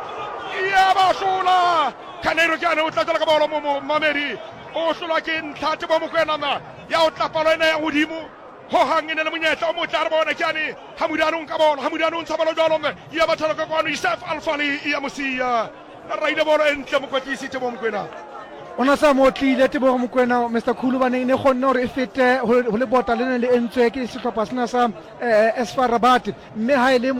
ya ba hlola Carneiro. Ke ane o tla tswela ka bolo momamedi, o hlolwa ke ntlha Teboho Mokoena ya o tla palo ena ya godimo hohang e ne le monyetla o motle. A re bone ke ane Hamudane o nka bolo, Hamudane o ntsha bolo jwalo, ya bathala ka kwano Isef Alfali ya mosia. Raile bolo e ntle mokwetlisi Tebogo Mokoena. O na sa mo tlile Tebogo Mokoena Mr Khulu baneng ne kgonne gore e fete ho lebota le neng le entswe ke sehlopha sena sa SFAR Rabat, mme ha e le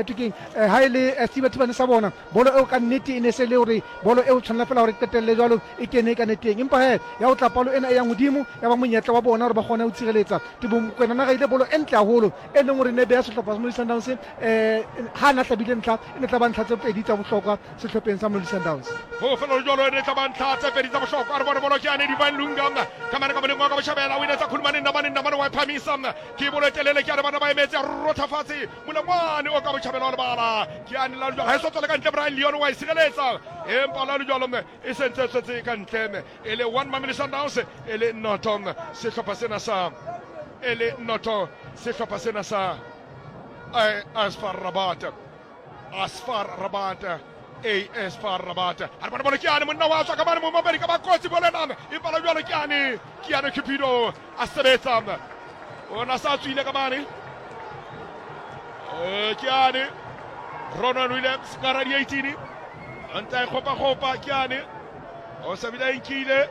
tekeng ha e le Thibathibane sa bona bolo eo ka nnete e ne se le hore bolo eo tshwanela fela hore qetelle jwalo e kene ka neteng, empa he ya ho tla palo ena e yang hodimo ya ba monyetla wa bona hore ba kgone ho tshireletsa. Tebogo Mokoena na raile bolo e ntle haholo e leng hore ne beha sehlopha sa Mamelodi Sundowns ha na hlabile ntlha e ne tla ba ntlha tse pedi tsa bohlokwa sehlopheng sa Mamelodi Sundowns. Ho fela jwalo e ne tla ba ntlha tse pedi tsa bohlokwa. Re bone bolo ke ane Divine Lunga ka mane ka moleng wa ka botjhabela o inetsa Khulumane Ndamane, Ndamane wa e phamisa ke bolo e telele ke ane bana ba emetse rotha fatshe molengwane o ka botjhabela wa lebala ke ane la jwalo ha e so tswele ka ntle. Brian Leon wa e sireletsa empa la jwalo e sentse tswetse ka ntle e le 1 Mamelodi Sundowns e le noto sehlopha sena sa e le noto sehlopha sena sa AS FAR Rabat, AS FAR Rabat, AS FAR Rabat. A re bone bolo ke ane monna wa tswa ka mane momamedi ka bakotsi bolo ena empa la jwalo ke ane ke ane Cupido a sebetsa ona sa tswile ka mane ke ane Ronald Williams ka ra di 18 a ntse a e kgopa-kgopa ke ane o sa bile a nkile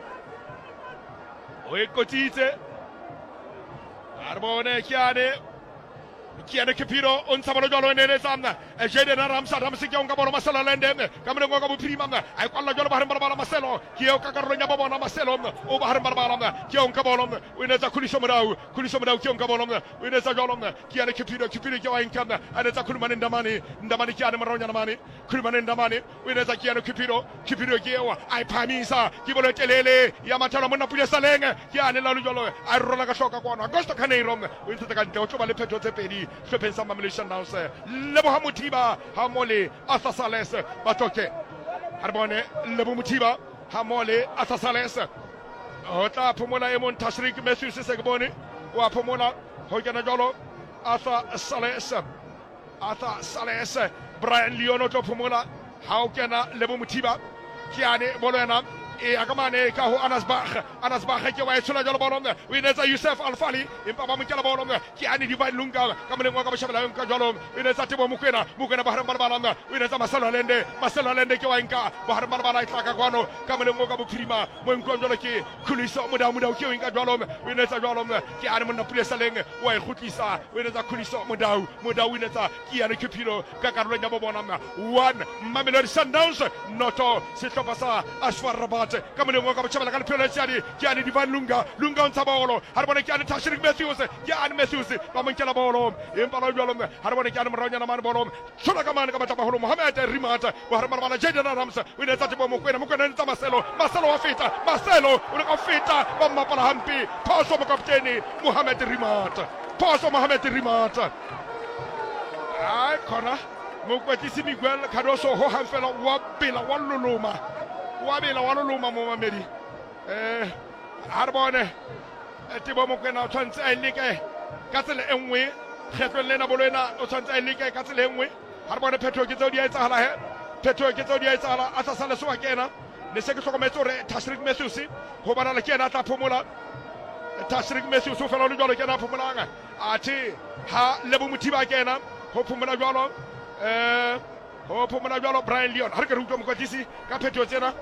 o e qotsitse a re bone ke ane ke ane Cupido o ntsha bolo jwalo e neletsa Jaden Adams. Adams ke o nka bolo Marcelo Allende ka moleng wa ka bophirima a e kwalla jwalo bohareng ba lebala. Marcelo ke eo ka karolong ya bo bona. Marcelo o bohareng ba lebala ke eo nka bolo o inetsa Khuliso Modau. Khuliso Modau ke eo nka bolo o inetsa jwalo ke ane Cupido. Cupido ke wa nka a netsa Khulumane Ndamane. Ndamane ke ane moraonyana mane. Khulumane Ndamane o inetsa ke ane Cupido. Cupido ke eo a e phahamisa ke bolo e telele ya mathelo monna Pule Saleng ke ane la jwalo a e rola ka hloka kwano. Augusto Carneiro o ntshetsa ka ntle o tlo ba le phetho tse pedi hlopheng sa Mamelodi Sundowns. Leboha Mothiba ha mo le Arthur Sales ba tloke ha re bone Lebo Mothiba ha mo le Arthur Sales ho tla phomola e mong Tashrik Matthews se ke bone o a phomola ho kena jwalo Arthur Sales. Arthur Sales Brian Leon o tlo phomola ha o kena Lebo Mothiba ke ane bolo ena e ya ka mane ka ho Anas Bach. Anas Bach ke wa e tshola jwalo bolo o inetsa Yusuf Alfali empa ba mo nkela bolo ke ane Divine Lunga ka moleng wa ka botjhabela nka jwalo o inetsa Tebo Mokoena. Mokoena bohareng ba lebala o inetsa Marcelo Allende. Marcelo Allende ke wa nka bohareng ba lebala e tla ka kwano ka moleng wa ka bophirima mo nkuang jwalo ke Khuliso Modau. Modau ke o nka jwalo o inetsa jwalo ke ane monna Pule Saleng wa e kgutlisa o inetsa Khuliso Modau. Modau o inetsa ke ane Cupido ka karolong ya bo bona 1 Mamelodi Sundowns noto sehlopha sa AS FAR Rabat ka moleng wa ka botjhabela ka lephelo la tšadi ke ane Divine Lunga. Lunga o ntsha bolo ha re bone ke ane Tashrik Matthews ke ane Matthews ba mo nkela bolo empa la jwalo ha re bone ke ane moraonyana mane bolo tshola ka mane ka matla baholo Mohamed Rimat bohare ba lebala Jaden Adams o ile tsa Teboho Mokoena. Mokoena o tsa Marcelo. Marcelo wa feta. Marcelo o le ka feta ba mmapala hampe phoso mokaptene Mohamed Rimat phoso Mohamed Rimat ai khona mokwetlisi Miguel Cardoso ho hang fela wa bela wa loloma wa bela wa loloma momamedi ha re bone Teboho Mokoena o tshwanetse a e leke ka tsela e nngwe kgetlong lena bolo ena o tshwanetse a e leke ka tsela e nngwe ha re bone phethoho ke tseo di a etsahala he phethoho ke tseo di a etsahala a tlasa lesoa ke ena ne se ke hlokometse hore Tashrik Matthews ho bonala ke ena a tla phomola Tashrik Matthews o fela o le jwalo ke ena a phomolang athe ha Lebo Mothiba ke ena ho phomola jwalo ho phomola jwalo Brian Leon ha re ke re utlwa mokwatlisi ka phetoho tsena.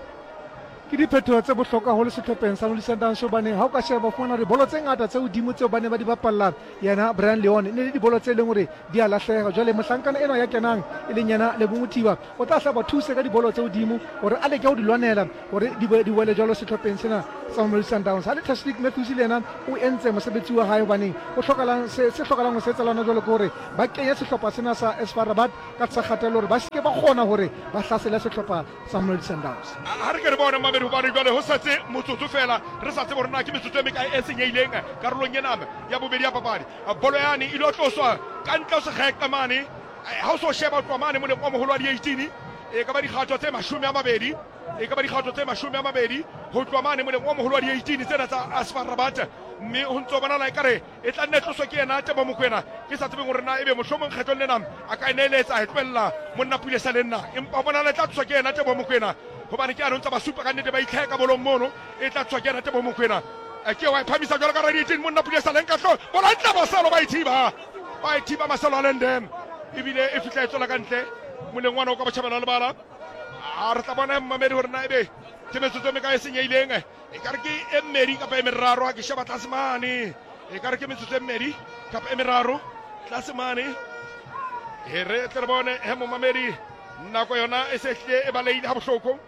Ke diphetoho tse bohlokwa haholo sehlopheng sa Mamelodi Sundowns hobane ha o ka sheba fumana hore dibolo tse ngata tse hodimo tseo ba ne ba di bapalla yena Brian Leon e ne le dibolo tse leng hore di a lahleha. Jwale mohlankana enwa ya kenang e leng yena Lebo Mothiba o tla hla ba thuse ka dibolo tse hodimo hore a leke ho di lwanela hore di be di wele jwalo sehlopheng sena sa Mamelodi Sundowns. Ha le Tashreeq Matthews le yena o entse mosebetsi wa hae hobaneng ho hlokalang se se hlokalang ho se etsa lona jwalo ke hore ba kenye sehlopha sena sa AS FAR Rabat ka tlasa kgatello hore ba se ke ba kgona hore ba hlasele sehlopha sa Mamelodi Sundowns. Ha re ke re bone mamedi hobane jwale ho setse motsotso fela re sa tsebe hore na ke metsotso e mekae e senyehileng karolong ena ya bobedi ya papadi. Bolo yane e lo tloswa ka ntle ho sekgeqe mane ha o so sheba o tloha mane moleng o moholo wa di-18 e ka ba dikgato tse 20 e ka ba dikgato tse 20 ho tloha mane moleng o moholo wa di-18 tsena tsa AS FAR Rabat mme ho ntso bonala ekare e tla nne tloswe ke yena Tebo Mokoena ke sa tsebeng hore na ebe mohlomong kgetlong lena a ka e neeletsa e tlohella monna Pule sa le nna empa ho bonala e tla tloswa ke yena Tebo Mokoena hobane ke ano ntse ba supa ka nnete ba itlheka bolong mono e tla tloswa ke yena Tebo Mokoena ke wa e phamisa jwalo ka radiating monna Pule sa leng ka hlo bola ntle Marcelo ba ithiba ba ithiba Marcelo Allende ebile e fihla e tswela ka ntle moleng wana o ka botjhabela lebala. A re tla bona mmamedi gore na ebe ke metsotso e mekae e senyehileng. E ka re ke e mmedi kapa e meraro ha ke sheba tlase mane. E ka re ke metsotso e mmedi kapa e meraro tlase mane. E re tle re bone he momamedi nako yona e se hlile e balehile ha bohloko.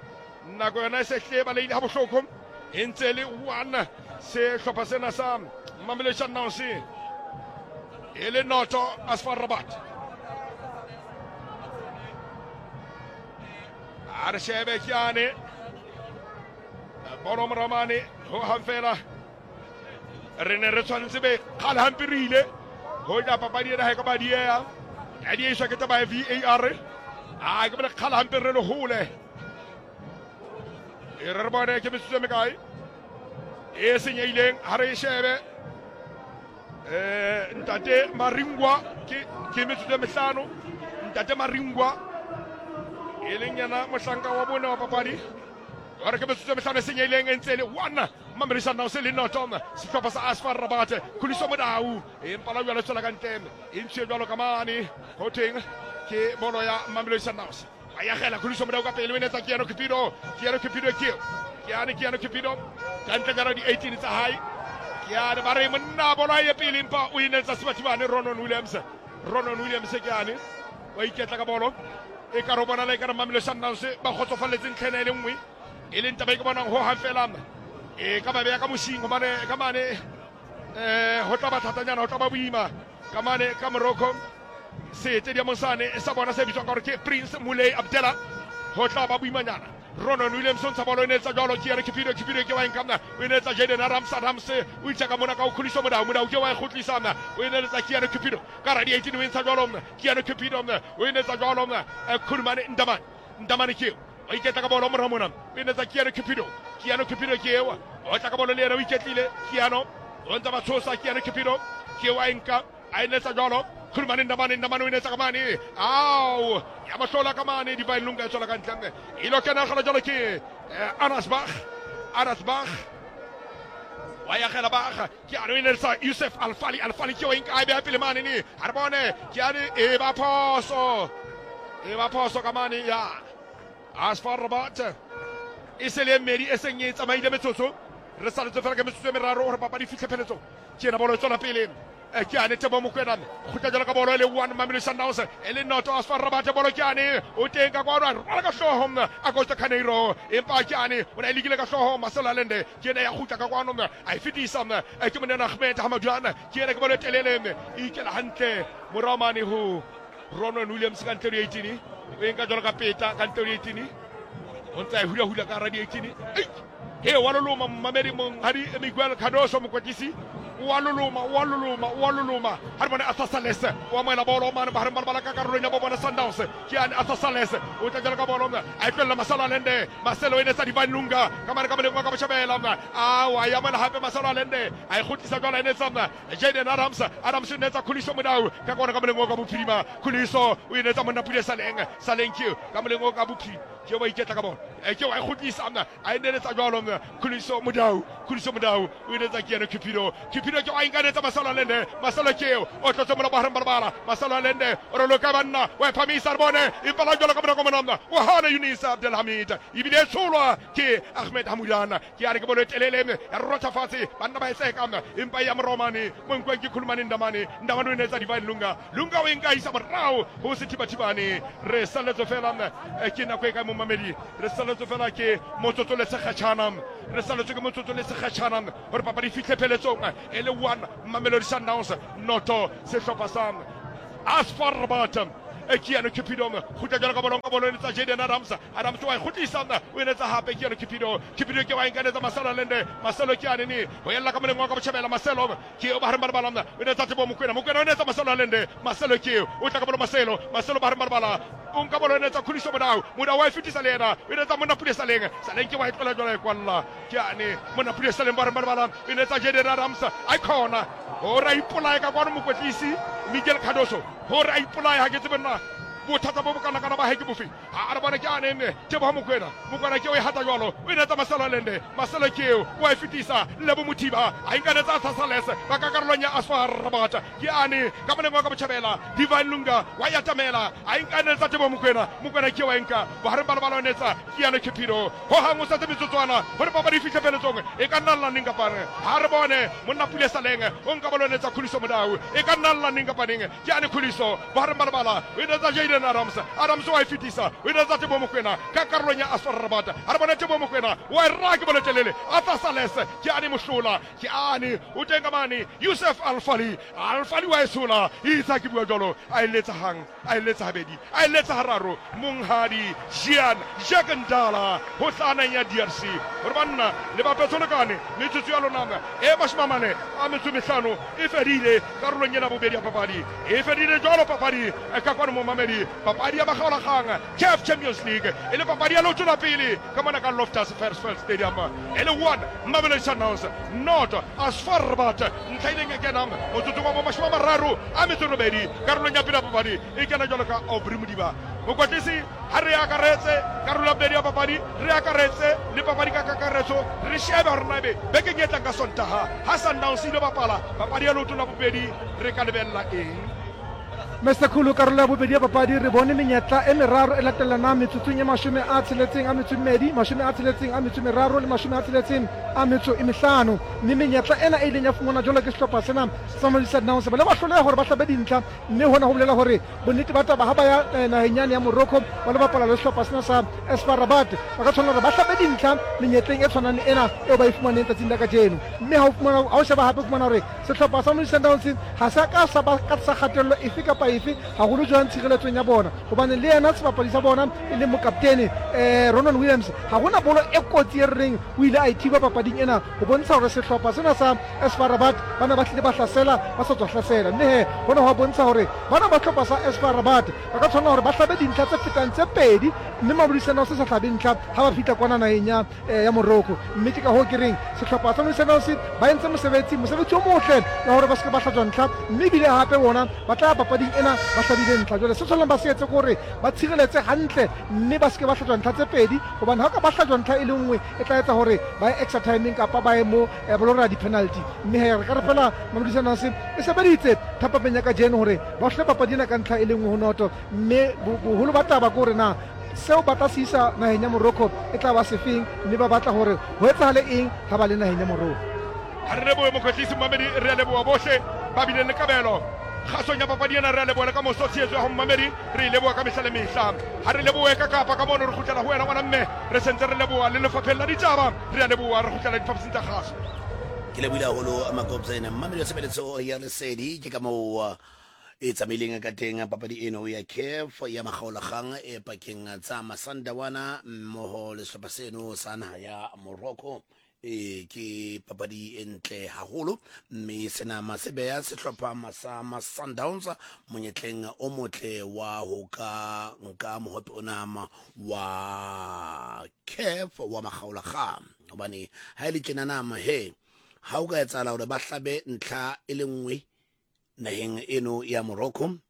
Nako yona e se hlile e balehile ha bohloko. E ntse e le 1 sehlopha sena sa Mamelodi Sundowns e le noto AS FAR Rabat. A re shebe kyane bolo moramane ho hang fela re ne re tshwanetse be kgale hampe re ile ho ja papadi ena ha e ka ba dieha ya diehiswa ke taba ya VAR a ke bole kgale hampe re le hole e re re bone ke metsotso e mekae e senyehileng ha re e shebe um ntate Maringwa ke ke metsotso e mehlano ntate Maringwa e leng yena mohlanka wa bone wa papadi ba re ke metsotso e mehlano e senyehileng e ntse e le one Mamelodi Sundowns le noto sehlopha sa AS FAR Rabat Khuliso Modau empa la jwalo tswela ka ntle e ntshiwe jwalo ka mane ho thweng ke bolo ya Mamelodi Sundowns ba yagela Khuliso Modau ka pele o enetsa Keanu Cupido Keanu Cupido ke eo Keanu Keanu Cupido ka ntle ka di 18 tsa hae Keanu ba re monna bolo a ye pele empa o enetsa Sebathibane Ronon Williams Ronon Williams Keanu wa iketla ka bolo e ka re bonala e ka re Mamelodi Sundowns ba kgotsofalletse ntlha ena e le nngwe e leng taba e ke bonang ho hang fela e ka ba beya ka mosing gobane ka mane um go tla ba thatanyana go tla ba boima ka mane ka Morocco setediamong sane sa bona se bitswang ka gore ke Prince Moulay Abdella go tla ba boimanyana Ronon Williams o ntsha bolo e netsa jalo ke yena Cupido Cupido ke wa enka mna o e netsa Jaden Adams Adams o itsa ka mona ka o Khuliso Modau Modau ke wa e kgutlisa mna o e netsa ke yena Cupido ka ra di 18 o e ntsha jalo mna ke yena Cupido mna o e netsa jalo mna Khulumane Ndamane Ndamane ke o iketla ka bolo morao mona o e netsa Keanu Cupido Keanu Cupido ke eo o tla ka bolo le yena o iketlile Keanu o ntsa ba tshosa Keanu Cupido ke wa enka a e netsa jalo Khulumane Ndamane Ndamane o e netsa ka mane ao ya mohlola ka mane Divine Lunga e tswela ka ntle e lo kena gala jalo ke Anas Bach Anas Bach wa yagela Bach ke ano e netsa Yusuf Alfali Alfali ke o enka a e beha pele mane ne a re bone ke ane e ba phoso e ba phoso ka mane ya AS FAR Rabat e se le e mmedi e seng e tsamaile metsotso re saletse fela ka metsotso e meraro gore papadi e fitlhe pheletsong ke ena bolo e tswela pele ke ane Tebo Mokwena kgutla jalo ka bolo e le one Mamelodi Sundowns e le noto AS FAR Rabat bolo ke ane o teng ka kwano a rwala ka hlooho Augusto Carneiro empa ke ane o ne a lekile ka hlooho Marcelo Allende ke ena ya kgutla ka kwano a e fetisa ke monena Ahmed Hamaduan ke ena ke bolo e telele e ikela hantle morao mane ho Ronwen Williams ka ntle le 18 o e nka jalo ka peta ka ntle le 18 o ntse a e hula-hula ka hara di 18 he wa loloma mmamedi monghadi Miguel Cardoso mokwetlisi wa loloma wa loloma wa loloma ha re bone Arthur Sales o amohela bolo mane bahareng ba lebala ka karolong ya bo bona Sundowns ke ane Arthur Sales o tla jalo ka bolo a e tlohella Marcelo Allende Marcelo e netsa Divine Lunga ka mane ka moleng wa ka botjhabela a wa e amohela hape Marcelo Allende a e kgutlisa jwalo e netsa Jaden Adams Adams o netsa Khuliso Modau ka kona ka moleng o ka bophirima Khuliso o e netsa monna Pule Saleng Saleng ke ka moleng o ka bophirima ke wa iketla ka bona ke wa e kgutlisa a e neletsa jalo Khuliso Modau Khuliso Modau o e netsa ke yena Cupido Cupido ke wa inkanetsa Marcelo Allende Marcelo ke eo o tlotse mola bohareng ba lebala Marcelo Allende o re loka banna wa e phamisa re bone empa la jalo ka monako mona o hana Yunis Abdelhamid ebile e tsholwa ke Ahmed Hamudana ke yane ke bolo e telele ya rotha fatshe banna ba e tseka empa ya moromane mo nkwang ke Khulumane Ndamane Ndamane o netsa Divine Lunga Lunga o e nka isa morao ho sethibathibane re salletswe fela ke nako e kae momamedi re salletswe fela ke motsotso le sekgatšhana re salletswe ke motsotso le sekgatšhana gore papadi e fitlhe pheletsong e le one Mamelodi Sundowns noto sehlopha sa AS FAR Rabat Keanu Cupido kgutla jalo ka bolong ka bolo e netsa Jaden Adams Adams wa e kgutlisa o e netsa hape Keanu Cupido Cupido ke wa e nkanetsa Marcelo Allende Marcelo ke ane ne ho ella ka moleng wa ka botjhabela Marcelo ke o bahareng ba lebala o netsa Tebo Mokwena Mokwena o netsa Marcelo Allende Marcelo ke o tla ka bolo Marcelo Marcelo bahareng ba lebala o nka bolo e netsa Khuliso Modau Modau wa e fetisa le yena o netsa monna Pule Saleng Saleng ke wa e tlola jwalo e kwalla ke ane monna Pule Saleng bahareng ba lebala o netsa Jaden Adams a khona hore a ipolaye ka kwano mokwetlisi Miguel Cardoso hore a ipolaye ha ke tsebe nna Bothata bo bokanakana ba hae ke bofe? A re bone ke ane mme Teboho Mokoena. Mokoena ke o e hata jwalo, o e netsa Marcelo Allende. Marcelo ke eo, o a e fetisa. Lebo Mothiba a e nka netsa Arthur Sales ba ka karolong ya Asfar Rabat. Ke ane ka moleng wa ka botjhabela, Divine Lunga wa e atamela, a e nka netsa Teboho Mokoena. Mokoena ke eo a e nka bohareng ba lebala o netsa Keanu Cupido. Ho hang o setse metsotswana gore papadi e fihle pheletsong, e ka nna lla neng kapa neng. Ha re bone monna Pule Saleng o nka bolo netsa Khuliso Modau, e ka nna lla neng kapa neng. Ke ane Khuliso bohareng ba lebala, o e netsa Jayden Adams, Adams wa e fetisa, o e netsa Teboho Mokoena ka karolong ya Asfar Rabat. Ha re bone Teboho Mokoena wa e raya ke bolo telele, Arthur Sales ke ane mohlola, ke ane o teng ka mane Youssef Alfali, Alfali wa e tshola, itse ha ke bua jwalo a e letsa hang, a e letsa habedi, a e letsa hararo, monghadi Jean Jacques Ndala ho hlaha naheng ya DRC hore banna le bapetse ho lekane, metsotso ya lona e 45 e fedile karolong ena bobedi ya papadi e fedile jwalo papadi ka kwano momamedi papadi ya makgaolakgang CAF Champions League e le papadi ya leoto la pele ka mona ka Loftus Versfeld Stadium e le 1 Mamelodi Sundowns not ASFAR Rabat ntlha ileng e kena motsotsong wa bo 38 karolong ya pele ya papadi e kena jwalo ka Aubrey Modiba mokwatlisi ha re akaretse karolo ya bobedi ya papadi re akaretse le papadi ka kakaretso re shebe gore na ebe bekeng e tlang ka Sontaha ha Sundowns ile bapala papadi ya leoto la bobedi re ka lebelela eng. Mr Khulu, karolo ya bobedi ya papadi re bone menyetla e meraro e latellanang metsotsong e 65, 63 le 65, mme menyetla ena e ileng ya fumanwa jwalo ke sehlopha sena sa Mamelodi Sundowns ba ile ba hloleha hore ba hlabe dintlha, mme hona ho bolela hore bonnete ba taba ha ba ya eh, naheng yane ya Morocco ba lo bapala le sehlopha sena sa SFAR Rabat ba ka tshwanela hore ba hlabe dintlha menyetleng e tshwanang le ena eo ba e fumaneng tsatsing la kajeno. Mme ha o fumana ha o sheba hape o fumana hore sehlopha sa Mamelodi Sundowns ha se ka sa ba ka tlasa kgatello efe kapa efe haholo jwang tshireletsong ya bona, hobane le yena sebapadi sa bona e leng mokaptene eh, Ronan Williams ha hona bolo e kotsi e re reng o ile a e thiba papading ena ho bontsha hore sehlopha sena sa SFAR Rabat ba ne ba hlile ba hlasela ba sa tswa hlasela. Mme he hona ho bontsha hore bana ba hlopha sa SFAR Rabat ba ka tshwanela hore ba hlabe dintlha tse fetang tse pedi, mme Mamelodi Sundowns se sa hlabe ntlha ha ba fihla kwana naheng ya, eh, ya Morocco. Mme ke ka hoo ke reng sehlopha sa Mamelodi Sundowns ba entse mosebetsi, mosebetsi o motle wa hore ba se ke ba hlajwa ntlha, mme ebile hape bona ba tla ya papading ena ba hlabile ntlha. Jwale se tshwanelang ba se etse ke hore ba tshireletse hantle mme ba se ke ba hlajwa ntlha tse pedi, hobane ha o ka ba hlajwa ntlha e le nngwe e tla etsa hore ba ye extra timeng kapa ba ye mo eh, ba lo raya di-penalty. Mme he re ka re fela Mamelodi Sundowns e sebeditse thapameng ya kajeno hore ba hlole papadi ena ka ntlha e le nngwe ho noto, mme boholo ba taba ke hore na seo ba tla se isa naheng ya Morocco e tla ba sefeng, mme ba batla hore ho etsahale eng ha ba le naheng ya Morocco. Ha re lebohe mokwetlisi Mmamedi, re a leboha bohle ba bileng le kabelo kgasong ya papadi ena. Re a leboha le ka moso tshehetso ya ho Mmamedi, re e leboha ka mehla le mehla. Ha re lebohe ka kapa ka mono, re kgutlela ho wena ngwana mme, re sentse re leboha le lefapheng la ditaba. Re a leboha, re kgutlela diphaposing tsa kgaso. Ke lebohile haholo Makobzene. Mmamedi wa tshebeletso ya Lesedi, ke ka moo e tsamaileng ka teng papadi eno ya CAF ya makgaolakgang e pakeng tsa Masandawana mmoho le sehlopha seno sa naha ya Morocco. E ke papadi e ntle haholo mme sena se beha sehlopha sa Sundowns monyetleng o motle wa ho ka nka mohope ona wa CAF wa makgaolakgang, hobane ha e le tjena nama he ha o ka etsahala hore ba hlabe ntlha e le nngwe naheng eno ya Morocco,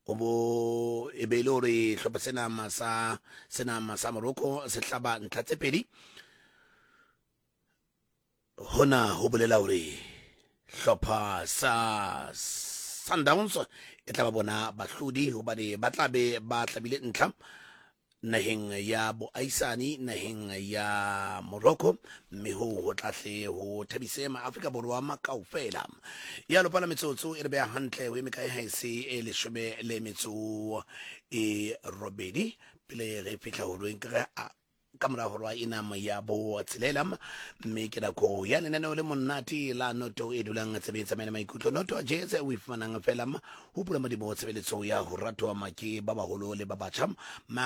o bo e be e le hore hlopha sena sa sena sa Morocco se hlaba ntlha tse pedi, hona ho bolela hore hlopha sa Sundowns e tla ba bona bahlodi, hobane ba tla be ba hlabile ntlha naheng ya boahisani naheng ya Morocco, mme hoo ho tla hle ho thabise maAfrika Borwa makaofela. Ya lopala metsotso e re beha hantle ho e mekae haese e 18 pele re fihla horweng ke re ka mora horwa ena ya botshelela, mme ke nako ya lenaneo le monate la noto e dulang tsebeng tsamaela maikutlo, noto jazz o e fumanang fela ho pula madiboho tshebeletso ya ho ratwa ke ba baholo le ba batjha.